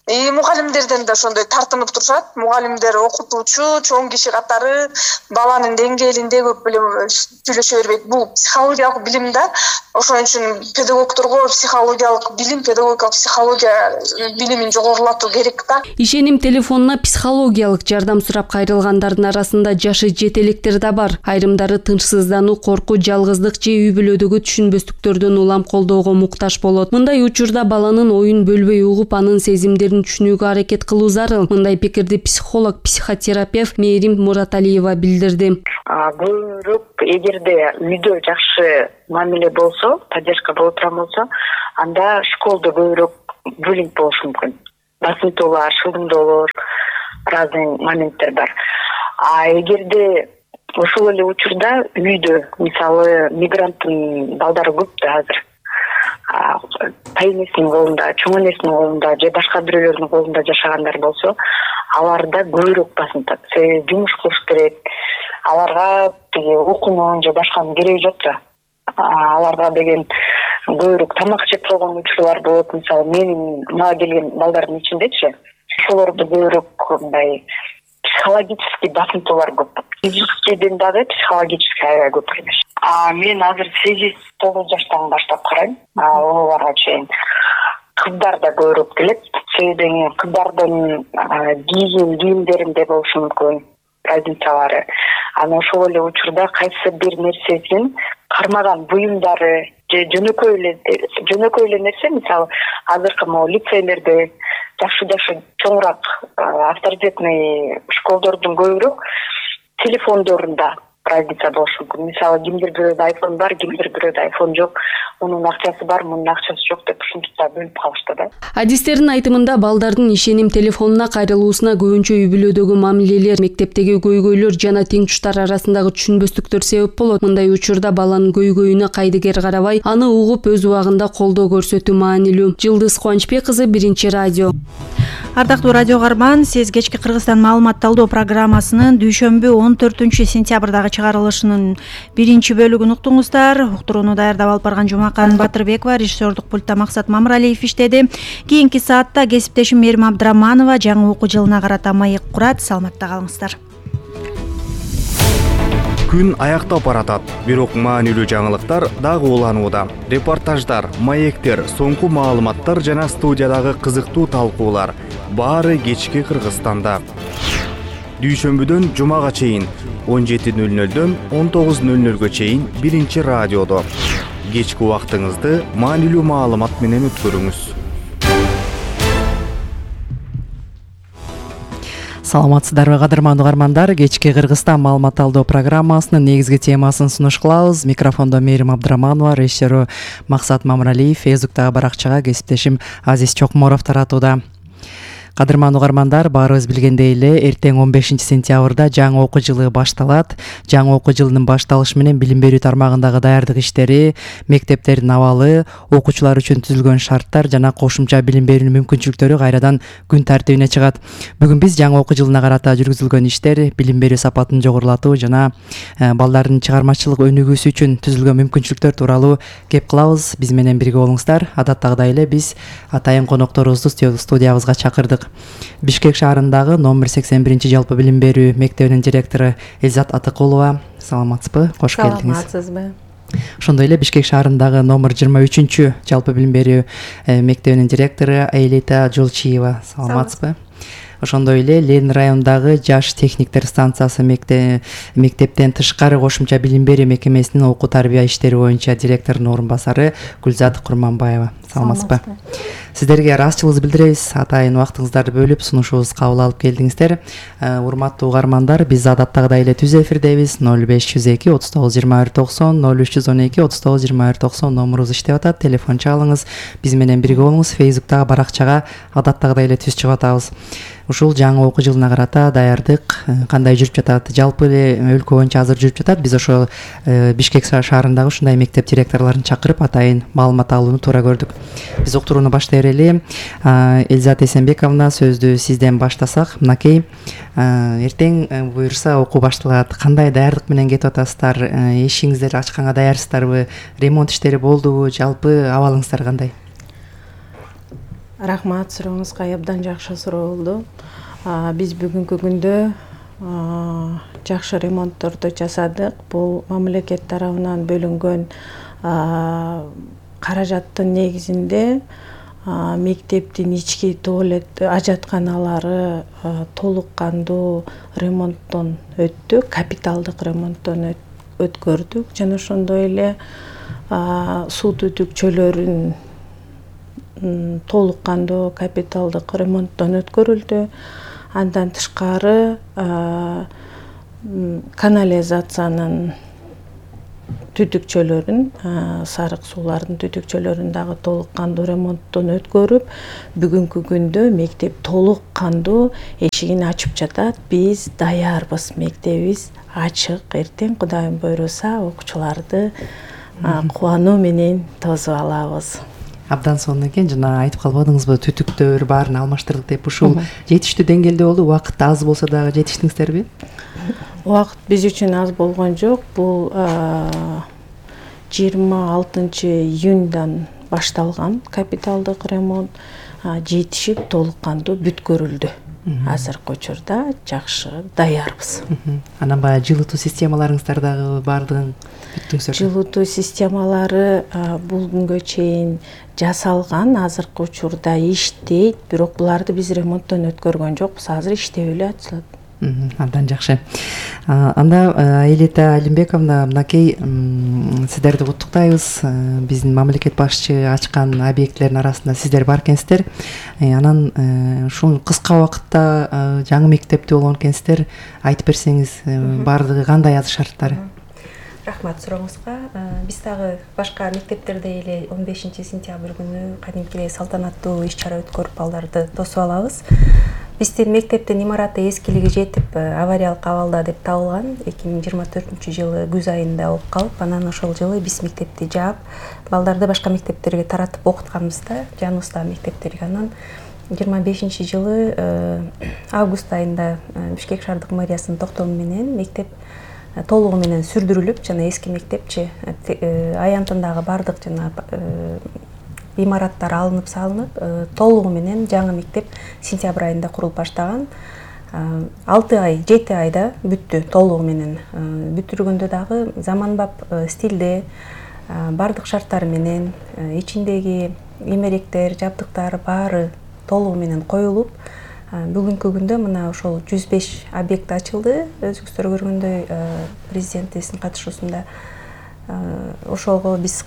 Мугалимдерден да ошондой тартынып турушат. Мугалимдер, окутуучу, чоң киши катары баланын деңгээлинде көп эле сүйлөшө бербейт. Бул психологиялык билим да. Ошон үчүн педагогдорго психологиялык билим, педагогикалык психология билимин жогорулатуу керек да. Ишеним телефонуна психологиялык жардам сурап кайрылгандардын арасында жашы жете электер да бар. Айрымдары тынчсыздануу, коркуу, жалгыздык же үй бүлөдөгү түшүнбөстүктөрдөн улам колдоого муктаж болот. Мындай учурда баланын оюн бөлбөй угуп, анын сезимдерин түшүнүүгө аракет кылуу зарыл. Мындай пикирди психолог, психотерапевт Мээрим Мураталиева билдирди. Көбүрөөк эгерде үйдө жакшы мамиле болсо, поддержка боло турган болсо, анда школдо көбүрөөк буллинг болушу мүмкүн. Басынтуулар, шылдыңдоолор, разный моменттер бар. Эгерде ошол эле учурда үйдө, мисалы, мигранттын балдары көп да азыр. Тайнесинин колунда, чоң энесинин колунда же башка бирөөлөрдүн колунда жашагандар болсо, аларда көбүрөөк басынтат. Себеби жумуш кылыш керек. Аларга окуунун же башканын кереги жок да. Аларга деген көбүрөөк тамак жеп койгон учурлар болот. Мисалы, менин мага келген балдардын ичиндечи, ошолордо көбүрөөк мындай психологический басынтуулар көп. Физическийден дагы психологический аябай көп эмес. Мен азыр 8-9 жаштан баштап карайм. Оларга чейин кыздар да көбүрөөк келет. Себеби кыздардын кийимдеринде болушу мүмкүн разницалары. Анан ошол эле учурда кайсы бир нерсесин кармаган буюмдары же жөнөкөй эле нерсе, мисалы, азыркы могу лицейлерде жакшы чоңураак авторитетный школдордун көбүрөөк телефондорунда разница болушу мүмкүн. Мисалы, кимдир бирөөдө айфон бар, кимдир бирөөдө айфон жок. Мунун акчасы бар, мунун акчасы жок деп ушинтип бөлүп калышты да. Адистердин айтымында балдардын ишеним телефонуна кайрылуусуна көбүнчө үй бүлөдөгү мамилелер, мектептеги көйгөйлөр жана теңтуштар арасындагы түшүнбөстүктөр себеп болот. Мындай учурда баланын көйгөйүнө кайдыгер карабай, аны угуп өз убагында колдоо көрсөтүү маанилүү. Жылдыз Кубанычбек кызы, Биринчи радио. Ардактуу радио каарман, сиз кечки Кыргызстан маалымат талдоо программасынын дүйшөмбү 14-сентябрдагы чыгарылышынын биринчи бөлүгүн уктуңуздар. Уктурууну даярдап алып барган Жумакан Батырбекова, режиссердук пультта Максат Мамыралиев иштеди. Кийинки саатта кесиптешим Мээрим Абдыраманова жаңы окуу жылына карата маек курат. Саламатта калыңыздар. Күн аяктап баратат, бирок маанилүү жаңылыктар дагы уланууда. Репортаждар, маектер, соңку маалыматтар жана студиядагы кызыктуу талкуулар баары кечки Кыргызстанда. Дүйшөмбүдөн жумага чейин 17:00дөн 19:00гө чейин Биринчи радиодо. Кечки убактыңызды маанилүү маалымат менен өткөрүңүз. Саламатсыздарбы кадырмандуу угармандар, кечки Кыргызстан маалымат талдоо программасынын негизги темасын сунуш кылабыз. Микрофондо Мээрим Абдыраманова, режиссеру Максат Мамыралиев, Фейсбуктагы баракчага кесиптешим Азиз Чокморов таратууда. Кадырмандуу угармандар, баарыбыз билгендей эле, эртең 15-сентябрда жаңы окуу жылы башталат. Жаңы окуу жылынын башталышы менен билим берүү тармагындагы даярдык иштери, мектептердин абалы, окуучулар үчүн түзүлгөн шарттар жана кошумча билим берүүнүн мүмкүнчүлүктөрү кайрадан күн тартибине чыгат. Бүгүн биз жаңы окуу жылына карата жүргүзүлгөн иштер, билим берүү сапатын жогорулатуу жана балдардын чыгармачылык өнүгүүсү үчүн түзүлгөн мүмкүнчүлүктөр тууралуу кеп кылабыз. Биз менен бирге болуңуздар. Адаттагыдай эле биз атайын конокторубузду студиябызга чакырдык. Бишкек шаарындагы номер 81 жалпы билим берүү мектебинин директору Элзат Атыкулова. Саламатсызбы? Кош келдиңиз. Саламатсызбы? Ошондой эле Бишкек шаарындагы номер 23 жалпы билим берүү мектебинин директору Аэлита Жолчиева. Саламатсызбы? Ошондой эле Ленин районундагы жаш техниктер станциясы мектептен тышкары кошумча билим берүү мекемесинин окуу тарбия иштери боюнча директорунун орун басары Гүлзат Курманбаева. Саламатсызбы? Сиздерге ыраазычылыгыбызды билдиребиз. Атайын убактыңыздарды бөлүп сунушубузду кабыл алып келдиңиздер. Урматтуу угармандар, биз адаттагыдай эле түз эфирдебиз. 0502 39 21 90 0312 39 21 90 номурубуз иштеп атат. Телефон чалыңыз, биз менен бирге болуңуз. Фейсбуктагы баракчага адаттагыдай эле түз чыгып атабыз. Ушул жаңы окуу жылына карата даярдык кандай жүрүп жатат? Жалпы эле өлкө боюнча азыр жүрүп жатат. Биз ошо Бишкек шаарындагы ушундай мектеп директорлорун чакырып атайын маалымат алууну туура көрдүк. Биз уктурууну баштай берели. Элзат Эсенбековна, сөздү сизден баштасак. Мынакей, эртең буюрса окуу башталат. Кандай даярдык менен кетип атасыздар? Эшигиңиздер ачканга даярсыздарбы? Ремонт иштери болдубу? Жалпы абалыңыздар кандай? Рахмат, сурооңузга абдан жакшы суроо болду. Биз бүгүнкү күндө жакшы ремонтторду жасадык. Бул мамлекет тарабынан бөлүнгөн каражаттын негизинде мектептин ички туалет ажатканалары толук кандуу ремонттон өттү, капиталдык ремонттон өткөрдүк жана ошондой эле суу түтүкчөлөрүн толук кандуу капиталдык ремонттон өткөрүлдү. Андан тышкары канализациянын түтүкчөлөрүн, сарык суулардын түтүкчөлөрүн дагы толук кандуу ремонттон өткөрүп, бүгүнкү күндө мектеп толук кандуу эшигин ачып жатат. Биз даярбыз, мектебибиз ачык. Эртең Кудайым буйруса окуучуларды кубануу менен тосуп алабыз. Абдан сонун экен, жана айтып калбадыңызбы, түтүктөр баарын алмаштырдык деп. Ушул жетиштүү деңгээлде болду, убакыт аз болсо дагы жетиштиңиздерби? Убакыт биз үчүн аз болгон жок. Бул 26 июндан башталган капиталдык ремонт, жетишип толук кандуу бүткөрүлдү. Азыркы учурда жакшы даярбыз. Анан баягы жылытуу системаларыңыздар дагы баардыгын бүттүңүздөр? Жылытуу системалары бул күнгө чейин жасалган, азыркы учурда иштейт, бирок буларды биз ремонттон өткөргөн жокпуз. Азыр иштеп эле атышат. Абдан жакшы. Анда Аэлита Алимбековна, мынакей сиздерди куттуктайбыз. Биздин мамлекет башчы ачкан объектилердин арасында сиздер бар экенсиздер. Анан ушул кыска убакытта жаңы мектепте болгон экенсиздер. Айтып берсеңиз, баардыгы кандай азыр шарттары? Рахмат сурооңузга. Биз дагы башка мектептерде эле 15 сентябрь күнү кадимкидей салтанаттуу иш-чара өткөрүп балдарды тосуп алабыз. Биздин мектептин имараты эскилиги жетип, авариялык абалда деп табылган. 2024-жылы күз айында болуп калып, анан ошол жылы биз мектепти жаап, балдарды башка мектептерге таратып окутканбызда, жаныбыздагы мектептерге. Анан 25-жылы август айында Бишкек шаардык мэриясынын токтому менен мектеп толугу менен сүрдүрүлүп, жана эски мектепчи аянтындагы бардык жана имараттар алынып салынып, толугу менен жаңы мектеп сентябрь айында курулуп баштаган. 7 айда бүттү толугу менен. Бүтүргөндө дагы заманбап стилде бардык шарттары менен ичиндеги эмеректер, жабдыктар баары толугу менен коюлуп, бүгүнкү күндө мына ошол 105 объект ачылды. Өзүңүздөр көргөндөй президентибиздин катышуусунда ошого биз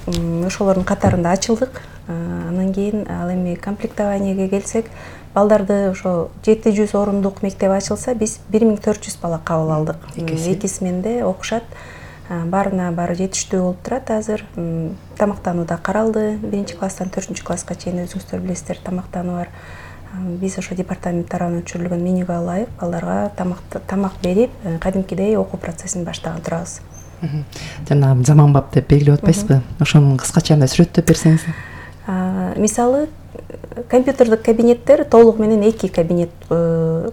ошолордун катарында ачылдык. Анан кийин ал эми комплектованиеге келсек, балдарды ошо 700 орундук мектеп ачылса, биз 1400 бала кабыл алдык. Эки сменде окушат. Баарына баары жетиштүү болуп турат азыр. Тамактануу да каралды. 1-класстан 4-класска чейин өзүңүздөр билесиздер, тамактануу бар. Биз ошо департамент тарабынан өчүрүлгөн менюга ылайык балдарга тамак берип, кадимкидей окуу процессин баштаган турабыз. Жана заманбап деп белгилеп атпайсызбы? Ошону кыскача мындай сүрөттөп берсеңиз. Мисалы, компьютердик кабинеттер толугу менен 2 кабинет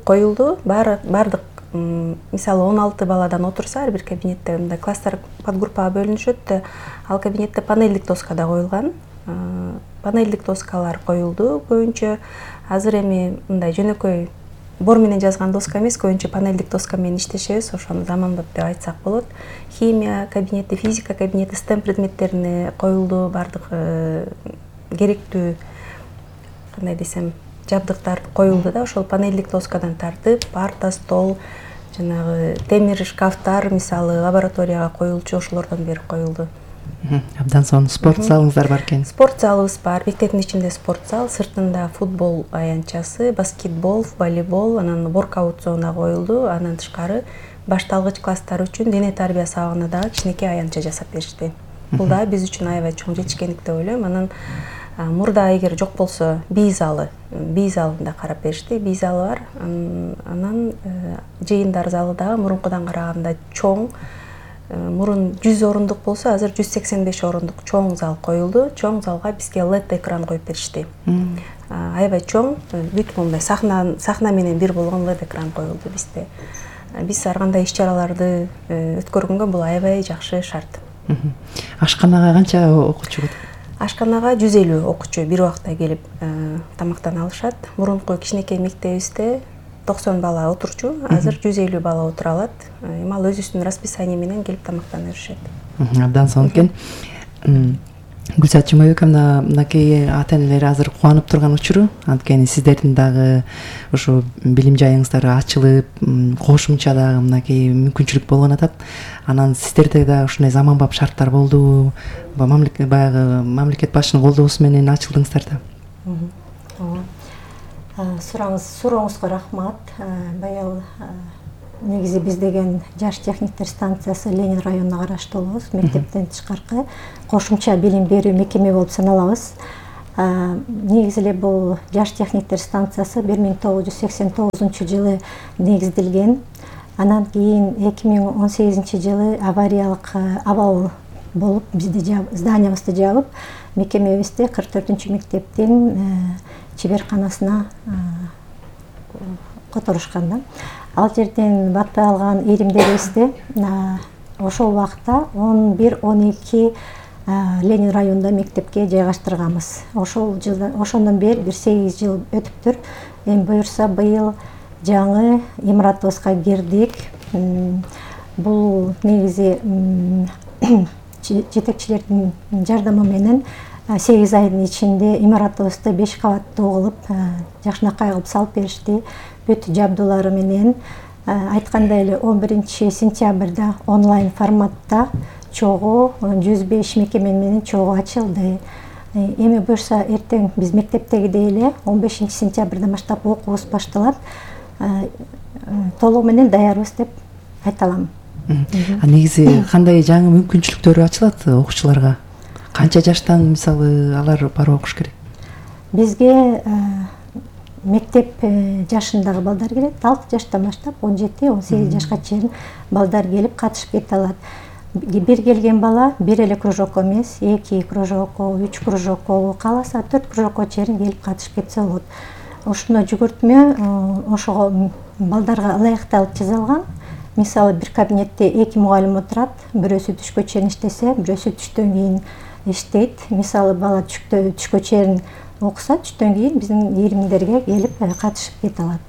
коюлду. Бардык мисалы 16 баладан отурса, ар бир кабинетте мындай класстар подгруппага бөлүнүшөт да, ал кабинетте панелдик доска да коюлган. Панелдик доскалар коюлду көбүнчө. Азыр эми мындай жөнөкөй бор менен жазган доска эмес, көбүнчө панелдик доска менен иштешебиз, ошону заманбап деп айтсак болот. Химия кабинети, физика кабинети, STEM предметтерине коюлду, бардык керектүү, кандай десем, жабдыктар коюлду да, ошол панелдик доскадан тартып, парта, стол, жанагы темир шкафтар, мисалы лабораторияга коюлчу, ошолордон бери коюлду. Абдан сонун. Спорт залыңыздар бар экен? Спорт залыбыз бар. Мектептин ичинде спорт зал, сыртында футбол аянтчасы, баскетбол, волейбол, анан воркаут зона коюлду. Андан тышкары башталгыч класстар үчүн дене тарбия сабагына дагы кичинекей аянтча жасап беришти. Бул да биз үчүн аябай чоң жетишкендик деп ойлойм. Анан мурда эгер жок болсо бий залында карап беришти. Бий залы бар. Анан жыйындар залы дагы мурункудан караганда чоң. Мурун 100 орундук болсо, азыр 185 орундук чоң зал коюлду. Чоң залга бизге LED экран коюп беришти. Аябай чоң, бүт мындай сахна менен бир болгон LED экран коюлду бизде. Биз ар кандай иш-чараларды өткөргөнгө бул аябай жакшы шарт. Ашканага канча окуучу? Ашканага 150 окуучу бир убакта келип тамактана алышат. Мурунку кичинекей мектебибизде 90 бала отурчу, азыр 150 бала отура алат. Эми ал өзүбүздүн расписание менен келип тамактана беришет. Абдан сонун экен. Гүлзат Жумабековна, мынакей ата-энелер азыр кубанып турган учуру, анткени сиздердин дагы ушу билим жайыңыздар ачылып, кошумча дагы мынакей мүмкүнчүлүк болгон атат. Анан сиздерде да ушундай заманбап шарттар болдубу? Баягы мамлекет башчынын колдоосу менен ачылдыңыздар да. Сурооңузга рахмат. Быйыл негизи биз деген жаш техниктер станциясы Ленин районуна караштуулубуз. Мектептен тышкаркы кошумча билим берүү мекеме болуп саналабыз. Негизи эле бул жаш техниктер станциясы 1989-жылы негизделген. Анан кийин 2018-жылы авариялык абал болуп бизде зданиябызды жабып, мекемебизди 44-мектептин чеберканасына которушкан да. Ал жерден батпай алган иримдерибизди ошол убакта 11-12 Ленин районунда мектепке жайгаштырганбыз. Ошондон бери 8 жыл өтүптүр. Эми буюрса быйыл жаңы имаратыбызга кирдик. Бул негизи жетекчилердин жардамы менен 8 айдын ичинде имаратыбызды 5 кабаттуу кылып, жакшынакай кылып салып беришти. Бүт жабдуулары менен айткандай эле 11-сентябрда онлайн форматта чогуу 105 мекеме менен чогуу ачылды. Эми буюрса эртең биз мектептегидей эле 15-сентябрдан баштап окуубуз башталат. Толугу менен даярбыз деп айта алам. Негизи кандай жаңы мүмкүнчүлүктөр ачылат окуучуларга? Канча жаштан мисалы алар барып окуш керек? Бизге мектеп жашындагы балдар келет. 6 жаштан баштап 17-18 жашка чейин балдар келип катышып кете алат. Бир келген бала бир эле кружокко эмес, 2 кружокко, 3 кружокко, кааласа 4 кружокко чейин келип катышып кетсе болот. Ушуну жүгүртмө ошого балдарга ылайыкталып жасалган. Мисалы бир кабинетте 2 мугалим отурат, бирөөсү түшкө чейин иштесе, бирөөсү түштөн кийин иштейт. Мисалы бала түшкө чейин окуса, түштөн кийин биздин иримдерге келип катышып кете алат.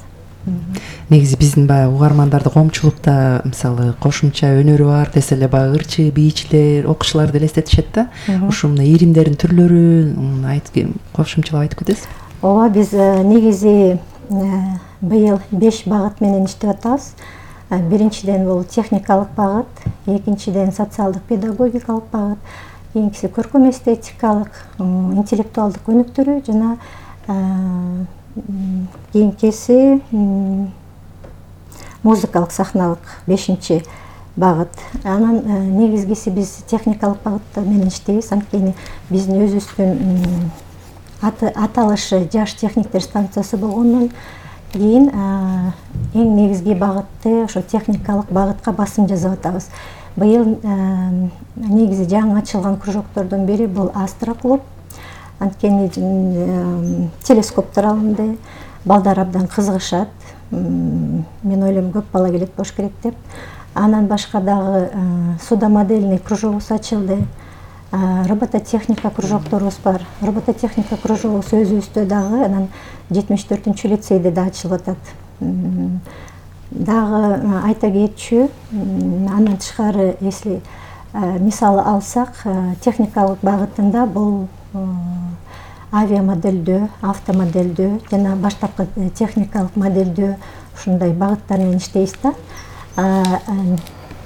Негизи биздин баягы угармандарды коомчулукта мисалы кошумча өнөрү бар десе эле баягы ырчы, бийчилер, окуучуларды элестетишет да. Ушу мына иримдердин түрлөрүн кошумчалап айтып кетесиз? Ооба, биз негизи быйыл 5 багыт менен иштеп атабыз. Биринчиден бул техникалык багыт, экинчиден социалдык педагогикалык багыт, кийинкиси көркөм эстетикалык, интеллектуалдык өнүктүрүү жана кийинкиси музыкалык сахналык 5 багыт. Анан негизгиси биз техникалык багыт менен иштейбиз. Анткени биздин өзүбүздүн аталышы жаш техниктер станциясы болгондон кийин эң негизги багытты ошо техникалык багытка басым жасап атабыз. Быйыл негизи жаңы ачылган кружоктордун бири бул Астра клуб. Анткени телескоптор алынды, балдар абдан кызыгышат. Мен ойлойм көп бала келет болуш керек деп. Анан башка дагы судомодельный кружогубуз ачылды. Робототехника кружокторубуз бар. Робототехника кружогубуз өзүбүздө дагы анан 74-лицейде да ачылып атат. Дагы айта кетчү, андан тышкары если мисалы алсак, техникалык багытында бул авиамоделдөө, автомоделдөө жана баштапкы техникалык моделдөө ушундай багыттар менен иштейбиз да.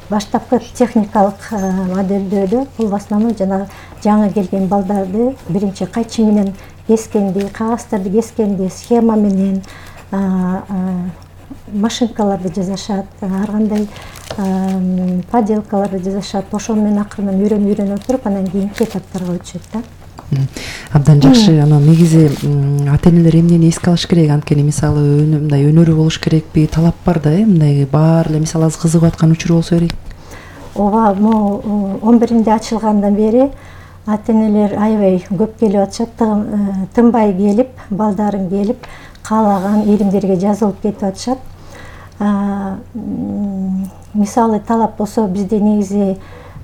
Баштапкы техникалык моделдөөдө бул в основном жана жаңы келген балдарды биринчи кайчы менен кескенди, кагаздарды кескенди, схема менен машинкаларды жасашат, ар кандай поделкаларды жасашат. Ошол менен акырынан үйрөнүп туруп, анан кийинки этаптарга өтүшөт да. Абдан жакшы. Анан негизи ата-энелер эмнени эске алыш керек? Анткени мисалы мындай өнөрү болуш керекпи? Талап бар да, мындай баары эле мисалы азыр кызыгып аткан учур болсо керек. Ооба, 11-нде ачылгандан бери ата-энелер аябай көп келип атышат, тынбай келип, балдарын келип, каалаган иримдерге жазылып кетип атышат. Мисалы талап болсо бизде негизи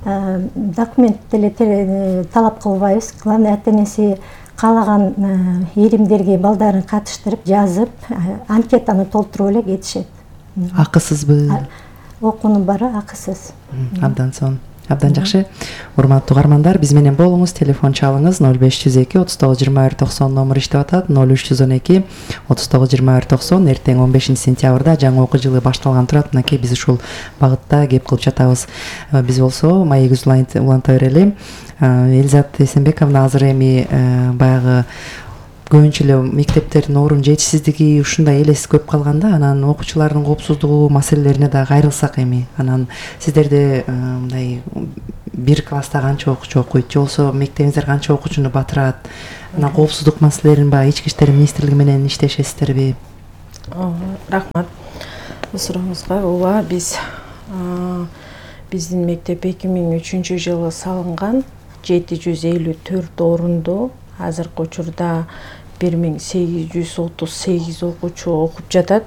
документ деле талап кылбайбыз. Главное, ата энеси каалаган иримдерге балдарын катыштырып, жазып, анкетаны толтуруп эле кетишет. Акысызбы? Окуунун баары акысыз. Абдан сонун. Абдан жакшы. Урматтуу угармандар, биз менен болуңуз, телефон чалыңыз 0502 39 21 90 номер иштеп атат. 0312 39 21 90. Эртең 15 сентябрда жаңы окуу жылы башталган турат. Мынакей биз ушул багытта кеп кылып жатабыз. Биз болсо маегибизди уланта берели. Элизат Эсенбековна азыр эми баягы көбүнчө эле мектептердин орун жетишсиздиги ушундай элес көп калганда, анан окуучулардын коопсуздугу маселелерине да кайрылсак эми. Анан сиздерде мындай бир класста канча окуучу окуйт, же болбосо мектебиңиздер канча окуучуну батырат? Анан коопсуздук маселелерин баягы Ички иштер министрлиги менен иштешесиздерби? Рахмат бул сурооңузга. Ооба, биздин мектеп 2003 жылы салынган, 754 орунду. Азыркы учурда 1838 окуучу окуп жатат.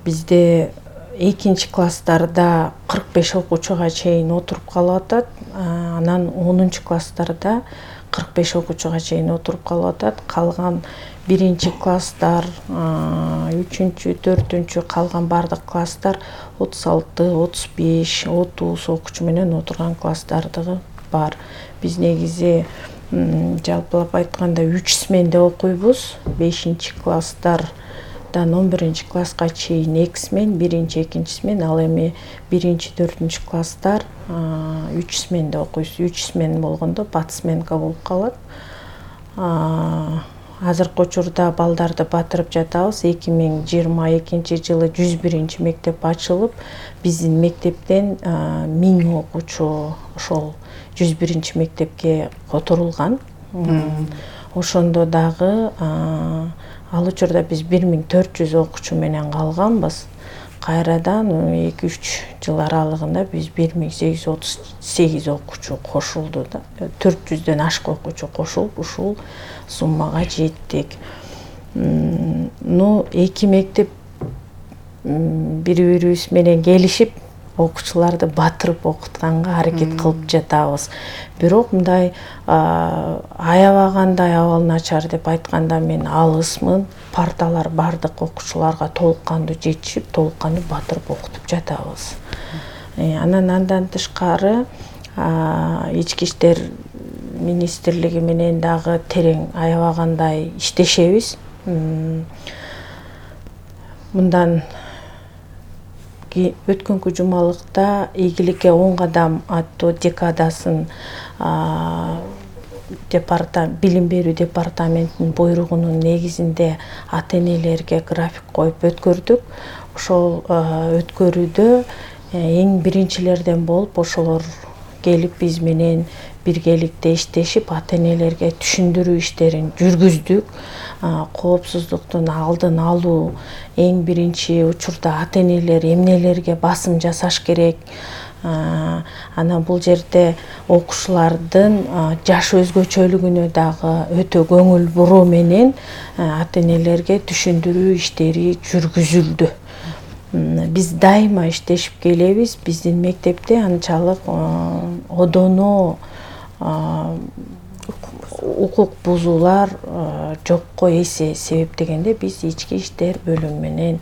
Бизде экинчи класстарда 45 окуучуга чейин отуруп калып атат. Анан 10 класстарда 45 окуучуга чейин отуруп калып атат. Калган биринчи класстар, 3-чү, 4-чү калган бардык класстар 36, 35, 30 окуучу менен отурган класстардыгы бар. Биз негизи жалпылап айтканда 3 сменде окуйбуз. 5-чи класстардан 11-чи класска чейин 2 смен, 1-чи, 2-чи смен, ал эми 1-чи, 4-чү класстар 3 сменде окуйбуз. 3 смен болгондо бат сменка болуп калат. Азыркы учурда балдарды батырып жатабыз. 2022 жылы 101-чи мектеп ачылып, биздин мектептен 1000 окуучу ошол 101-чи мектепке которулган. Ошондо дагы ал учурда биз 1400 окуучу менен калганбыз. Кайрадан 2-3 жыл аралыгында биз 1838 окуучу кошулду да. 400дөн ашык окуучу кошулуп ушул суммага жеттик. Эки мектеп бири-бирибиз менен келишип окуучуларды батырып окутканга аракет кылып жатабыз. Бирок мындай аябагандай абал начар деп айтканда мен алысмын. Парталар бардык окуучуларга толук кандуу жетишип, толук кандуу батырып окутуп жатабыз. Анан андан тышкары Ички иштер министрлиги менен дагы терең аябагандай иштешебиз. Мындан өткөнкү жумалыкта ийгиликке 10 кадам аттуу декадасын билим берүү департаментинин буйругунун негизинде ата-энелерге график коюп өткөрдүк. Ошол өткөрүүдө эң биринчилерден болуп ошолор келип биз менен биргеликте иштешип, ата-энелерге түшүндүрүү иштерин жүргүздүк. Коопсуздуктун алдын алуу эң биринчи учурда ата-энелер эмнелерге басым жасаш керек. Анан бул жерде окуучулардын жаш өзгөчөлүгүнө дагы өтө көңүл буруу менен ата-энелерге түшүндүрүү иштери жүргүзүлдү. Биз дайыма иштешип келебиз. Биздин мектепте анчалык одоно укук бузуулар жокко эсе. Себеп дегенде биз ички иштер бөлүмү менен,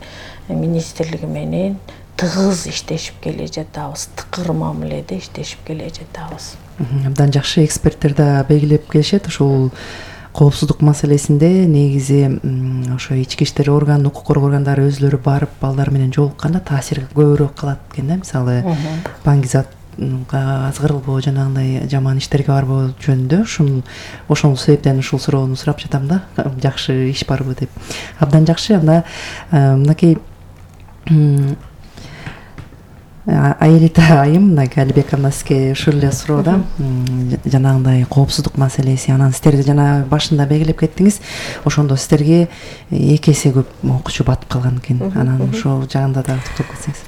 министрлиги менен тыгыз иштешип келе жатабыз. Тыкыр мамиледе иштешип келе жатабыз. Абдан жакшы, эксперттер да белгилеп келишет. Ушул коопсуздук маселесинде негизи ошо ички иштер орган, укук коргоо органдары өзлөрү барып балдар менен жолукканда таасир көбүрөөк кылат экен да. Мисалы, баңгизатка азгырылбоо, жанагындай жаман иштерге барбоо жөнүндө ошол себептен ушул суроону сурап жатам да. Жакшы иш барбы деп. Абдан жакшы. Анда мынакей Аэлита айым, Алибековна, сизге ушул эле суроо да. Жанагындай коопсуздук маселеси, анан сиздер жана башында белгилеп кеттиңиз, ошондо сиздерге 2 эсе көп окуучу батып калган экен. Анан ошол жагында да токтолуп кетсеңиз.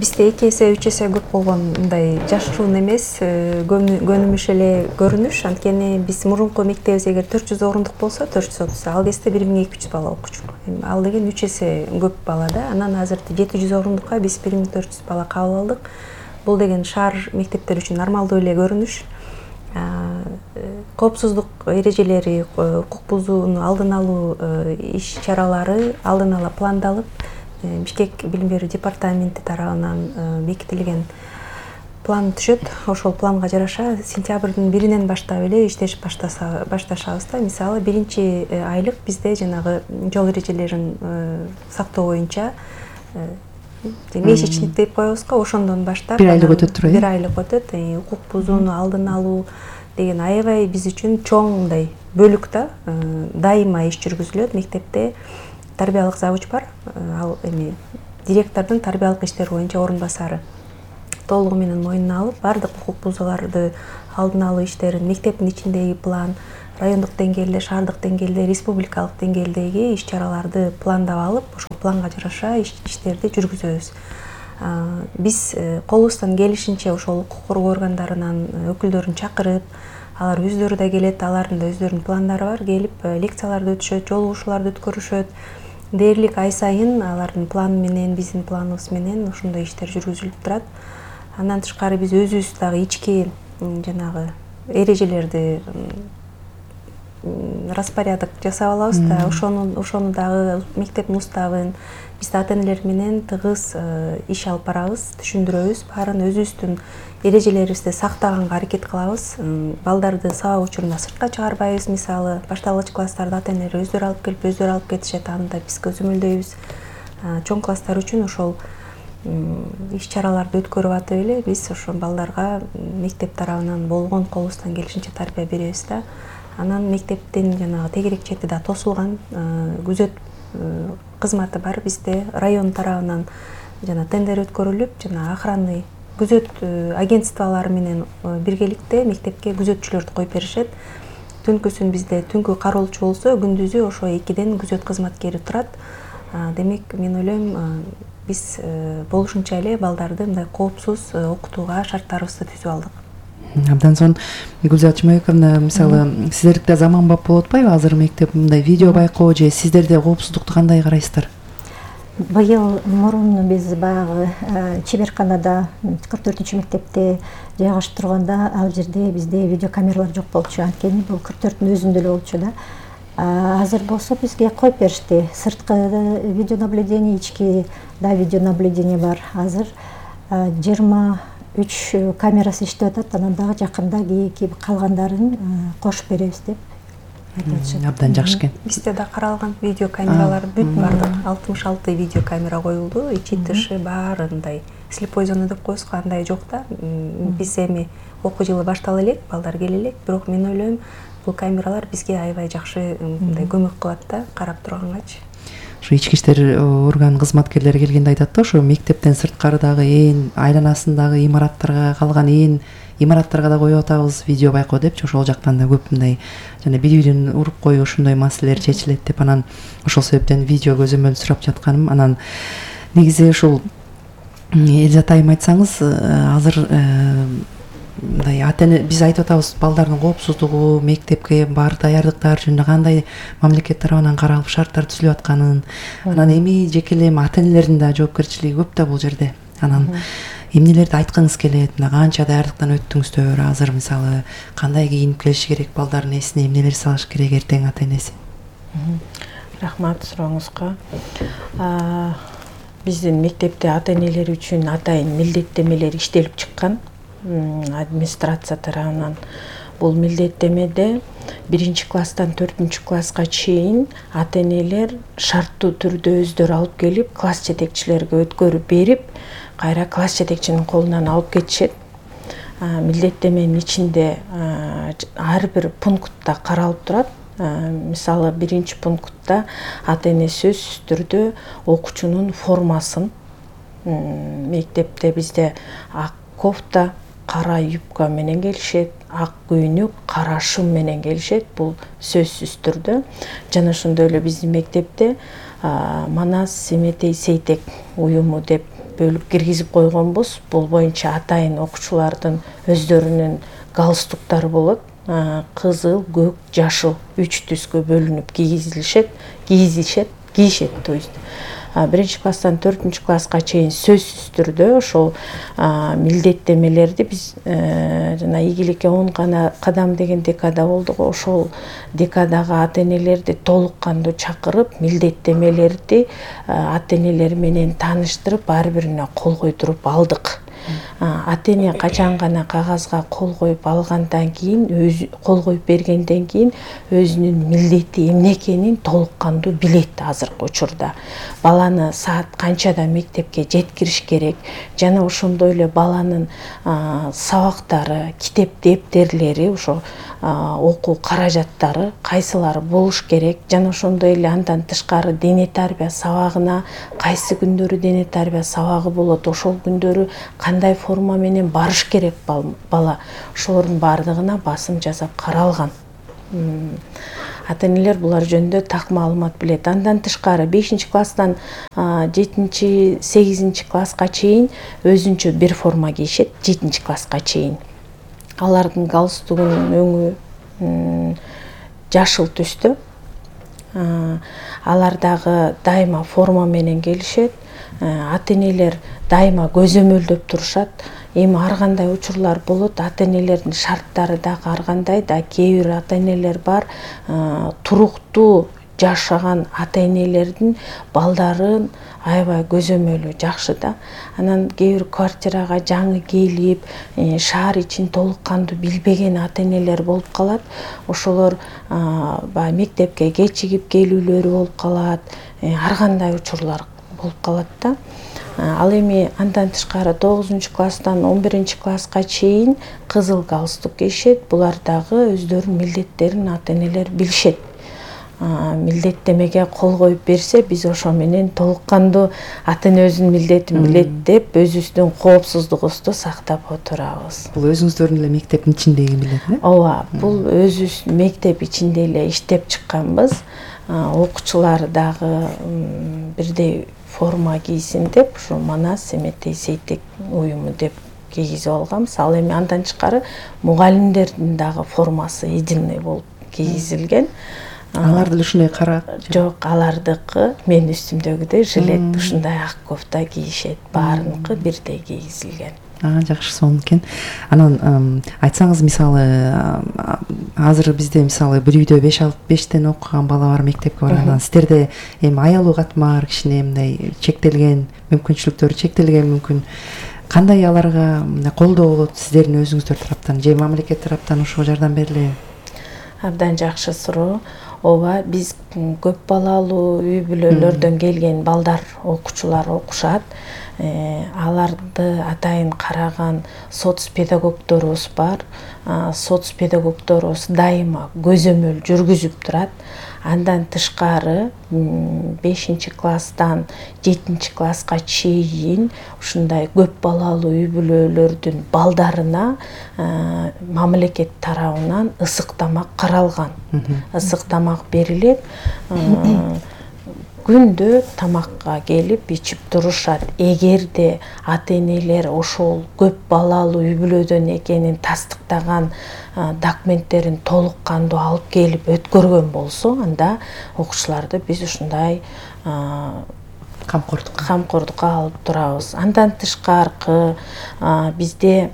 Бизде 2 эсе, 3 эсе көп болгон мындай жашыруун эмес, көнүмүш эле көрүнүш. Анткени биз мурунку мектебибиз эгер 400 орундук болсо, 430, ал кезде 1200 бала окуучу. Ал деген 3 эсе көп бала да. Анан азыр 700 орундукка биз 1400 бала кабыл алдык. бул деген шаар мектептери үчүн нормалдуу эле көрүнүш. Коопсуздук эрежелери, укук бузууну алдын алуу иш чаралары алдын ала пландалып, Бишкек билим берүү департаменти тарабынан бекитилген план түшөт. Ошол планга жараша сентябрдын 1-нен баштап эле иштеш башташабыз да. Мисалы, 1-айлык бизде жанагы жол эрежелерин сактоо боюнча месячник деп коебуз го, ошондон баштап 1 айлык өтөт турбайбы? 1 айлык өтөт. Укук бузууну алдын алуу деген аябай биз үчүн чоң мындай бөлүк да. Дайыма иш жүргүзүлөт. Мектепте тарбиялык завуч бар. Ал эми директордун тарбиялык иштер боюнча орун басары. Толугу менен мойнуна алып, бардык укук бузууларды алдын алуу иштерин мектептин ичиндеги план, райондук деңгээлде, шаардык деңгээлде, республикалык деңгээлдеги иш чараларды пландап алып, ошол планга жараша иштерди жүргүзөбүз. Биз колубуздан келишинче ошол укук коргоо органдарынан өкүлдөрүн чакырып, алар өздөрү да келет, алардын да өздөрүнүн пландары бар, келип лекцияларды өтүшөт, жолугушууларды өткөрүшөт. Дээрлик ай сайын алардын планы менен, биздин планыбыз менен ошондой иштер жүргүзүлүп турат. Андан тышкары биз өзүбүз дагы ички жанагы эрежелерди распорядок жасап алабыз да. Ошону дагы мектептин уставын биз ата энелер менен тыгыз иш алып барабыз, түшүндүрөбүз. Баарын өзүбүздүн эрежелерибизди сактаганга аракет кылабыз. Балдарды сабак учурунда сыртка чыгарбайбыз. Мисалы, башталгыч класстарды ата энелер өздөрү алып келип, өздөрү алып кетишет. Аны да биз көзөмөлдөйбүз. Чоң класстар үчүн ошол иш чараларды өткөрүп атып эле биз ошо балдарга мектеп тарабынан болгон колубуздан келишинче тарбия беребиз да. Анан мектептин жанагы тегерек чети да тосулган, күзөт кызматы бар бизде. Район тарабынан жана тендер өткөрүлүп, жана охранный күзөт агентстволору менен биргеликте мектепке күзөтчүлөрдү коюп беришет. Түнкүсүн бизде түнкү кароолчу болсо, күндүзү ошо 2ден күзөт кызматкери турат. Демек, мен ойлойм, биз болушунча эле балдарды мындай коопсуз окутууга шарттарыбызды түзүп алдык. Абдан сонун. Гүлзат Чымайковна, мисалы, сиздердикте заманбап болуп атпайбы азыр мектеп мындай видео байкоо же сиздерде коопсуздукту кандай карайсыздар? Быйыл мурун биз баягы чеберканада 44-мектепте жайгашып турганда ал жерде бизде видеокамералар жок болчу. Анткени бул 44-түн өзүндө эле болчу да. Азыр болсо бизге коюп беришти. Сырткы видеонаблюдение, ички да видеонаблюдение бар. Азыр 23 камерасы иштеп атат. Анан дагы жакында кийинки калгандарын кошуп беребиз деп айтышат. Абдан жакшы экен. Бизде да каралган видеокамералар бүт бардык 66 видеокамера коюлду. Ичи тышы баарындай слепой зона деп коебуз, андай жок да. Биз эми окуу жылы баштала элек, балдар келе элек, бирок мен ойлойм, бул камералар бизге аябай жакшы мындай көмөк кылат да, карап тургангачы. Ошо ички иштер орган кызматкерлери келгенде айтат да, ошо мектептен сырткарыдагы айланасындагы имараттарга, калган имараттарга да коюп атабыз видео байкоо депчи, ошол жактан да көп мындай жана бири-бирин уруп коюу ушундай маселелер чечилет деп, анан ошол себептен видео көзөмөл сурап жатканым. Анан негизи ушул Элзат айым айтсаңыз, азыр мындай биз айтып атабыз, балдардын коопсуздугу, мектепке бар даярдыктар жөнүндө кандай мамлекет тарабынан каралып шарттар түзүлүп атканын, анан эми жеке эле ата энелердин да жоопкерчилиги көп да бул жерде. Анан эмнелерди айткыңыз келет, мына канча даярдыктан өттүңүздөр, азыр мисалы кандай кийинип келиши керек, балдардын эсине эмнелер салыш керек эртең ата энеси? Рахмат сурооңузга. Биздин мектепте ата энелер үчүн атайын милдеттемелер иштелип чыккан. Администрация тарабынан бул милдеттемеде 1-класстан 4-класска чейин ата энелер шарттуу түрдө өздөрү алып келип, класс жетекчилерге өткөрүп берип, кайра класс жетекчинин колунан алып кетишет. Милдеттеменин ичинде ар бир пунктта каралып турат. Мисалы, 1-пунктта ата эне сөзсүз түрдө окуучунун формасын, мектепте бизде ак кофта, кара юбка менен келишет, ак көйнөк, кара шым менен келишет. Бул сөзсүз түрдө. Жана ошондой эле биздин мектепте Манас Семетей Сейтек уюму деп бөлүп киргизип койгонбуз. Бул боюнча атайын окуучулардын өздөрүнүн галстуктары болот. Кызыл, көк, жашыл 3 түскө бөлүнүп кийишет, то есть. 1 класстан 4 класска чейин сөзсүз түрдө ошол милдеттемелерди биз жана ийгиликке 10 кадам деген декада болду го, ошол декадагы ата энелерди толук кандуу чакырып, милдеттемелерди ата энелер менен тааныштырып, ар бирине кол койдуруп алдык. Ата эне качан гана кагазга кол коюп алгандан кийин, кол коюп бергенден кийин өзүнүн милдети эмне экенин толук кандуу билет азыркы учурда. Баланы саат канчада мектепке жеткириш керек жана ошондой эле баланын сабактары, китеп дептерлери, ошо окуу каражаттары кайсылары болуш керек жана ошондой эле андан тышкары дене тарбия сабагына кайсы күндөрү дене тарбия сабагы болот, ошол күндөрү кандай форма менен барыш керек бала, ошолордун баардыгына басым жасап каралган. Ата энелер булар жөнүндө так маалымат билет. Андан тышкары 5 класстан 7-8 класска чейин өзүнчө бир форма кийишет, 7 класска чейин. Алардын галстугунун өңү жашыл түстө. Алар дагы дайыма форма менен келишет. Ата энелер дайыма көзөмөлдөп турушат. Эми ар кандай учурлар болот, ата энелердин шарттары дагы ар кандай да, кээ бир ата энелер бар, туруктуу жашаган ата энелердин балдарын аябай көзөмөлү жакшы да. Анан кээ бир квартирага жаңы келип, шаар ичин толук кандуу билбеген ата энелер болуп калат. Ошолор баягы мектепке кечигип келүүлөрү болуп калат, ар кандай учурлар болуп калат да. Ал эми андан тышкары 9 класстан 11 класска чейин кызыл галстук кийишет. Булар дагы өздөрүнүн милдеттерин ата энелер билишет. Милдеттемеге кол коюп берсе, биз ошо менен толук кандуу ата эне өзүнүн милдетин билет деп, өзүбүздүн коопсуздугубузду сактап отурабыз. Бул өзүңүздөрдүн эле мектептин ичиндеги милдет э? Ооба, бул өзүбүз мектеп ичинде эле иштеп чыкканбыз. Окуучулар дагы бирдей форма кийсин деп, ушу Манас Эметей Сейтек уюму деп кийгизип алганбыз. Ал эми андан тышкары мугалимдердин дагы формасы единый болуп кийгизилген. Алар деле ушундай кара? Жок, алардыкы мен үстүмдөгүдөй жилет, ушундай ак кофта кийишет. Баарыныкы бирдей кийгизилген. Жакшы, сонун экен. Анан айтсаңыз, мисалы азыр бизде мисалы бир үйдө 5-6-5тен окуган бала бар, мектепке барган. Сиздерде эми аялуу катмар бар, кичине мындай чектелген, мүмкүнчүлүктөрү чектелген мүмкүн. Кандай аларга колдоо болот сиздердин өзүңүздөр тараптан же мамлекет тараптан ошого жардам берилеби? Абдан жакшы суроо. Ооба, биз көп балалуу үй бүлөлөрдөн келген балдар, окуучулар окушат. Аларды атайын караган соцпедагогдорубуз бар. Соцпедагогдорубуз дайыма көзөмөл жүргүзүп турат. Андан тышкары 5 класстан 7 класска чейин ушундай көп балалуу үй бүлөлөрдүн балдарына мамлекет тарабынан ысык тамак каралган. Ысык тамак берилет. Күндө тамакка келип ичип турушат. Эгерде ата энелер ошол көп балалуу үй бүлөдөн экенин тастыктаган документтерин толук кандуу алып келип өткөргөн болсо, анда окуучуларды биз ушундай камкордукка алып турабыз. Андан тышкаркы бизде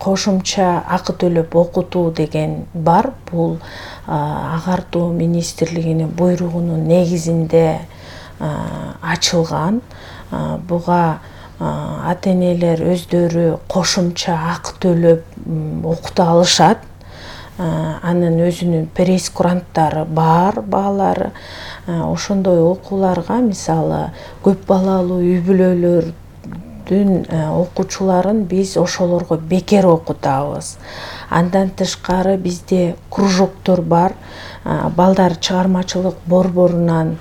кошумча акы төлөп окутуу деген бар. Бул агартуу министрлигинин буйругунун негизинде ачылган. Буга ата энелер өздөрү кошумча акы төлөп окута алышат. Анын өзүнүн пресс-куранттары бар, баалары. Ошондой окууларга мисалы көп балалуу үй бүлөлөр окуучуларын биз ошолорго бекер окутабыз. Андан тышкары бизде кружоктор бар. Балдар чыгармачылык борборунан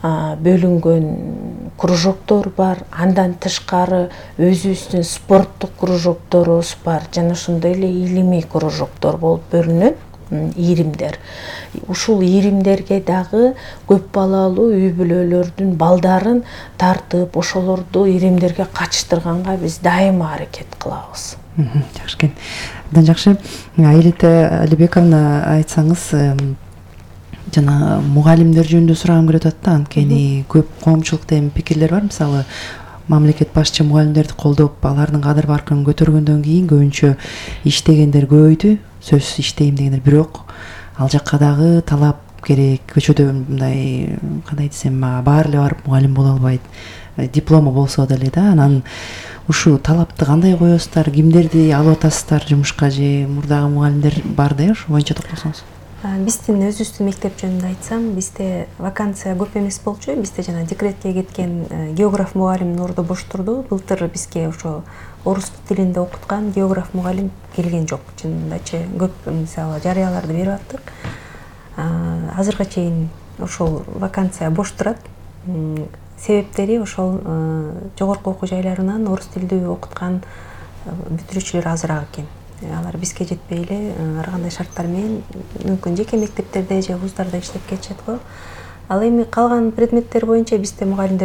бөлүнгөн кружоктор бар. Андан тышкары өзүбүздүн спорттук кружокторубуз бар. Жана ошондой эле илимий кружоктор болуп бөлүнөт. Ийримдер. Ушул ийримдерге дагы көп балалуу үй бүлөлөрдүн балдарын тартып, ошолорду ийримдерге катыштырганга биз дайыма аракет кылабыз. Жакшы экен. Абдан жакшы. Аэлита Алибековна, айтсаңыз, жана мугалимдер жөнүндө сурагым келип атат да, анткени көп коомчулукта эми пикирлер бар. Мисалы мамлекет башчы мугалимдерди колдоп, алардын кадыр баркын көтөргөндөн кийин көбүнчө иштегендер көбөйдү, сөзсүз иштейм дегендер. Бирок ал жакка дагы талап керек. Көчөдө мындай кандай десем, баары эле барып мугалим боло албайт. Диплому болсо деле да. Анан ушул талапты кандай коесуздар, кимдерди алып атасыздар жумушка, же мурдагы мугалимдер бар да, ошол боюнча токтолсоңуз. Биздин өзүбүздүн мектеп жөнүндө айтсам, бизде вакансия көп эмес болчу. Бизде жана декретке кеткен географ мугалимдин орду бош турду. Былтыр бизге ошо орус тилинде окуткан географ мугалим келген жок. Чынындачы көп мисалы жарыяларды берип аттык. Азыркыга чейин ошол вакансия бош турат. Себептери ошол жогорку окуу жайларынан орус тилдүү окуткан бүтүрүүчүлөр азыраак экен. Алар бизге жетпей эле ар кандай шарттар менен мүмкүн жеке мектептерде же вуздарда иштеп кетишет го. Ал эми калган предметтер боюнча бизде мугалимдер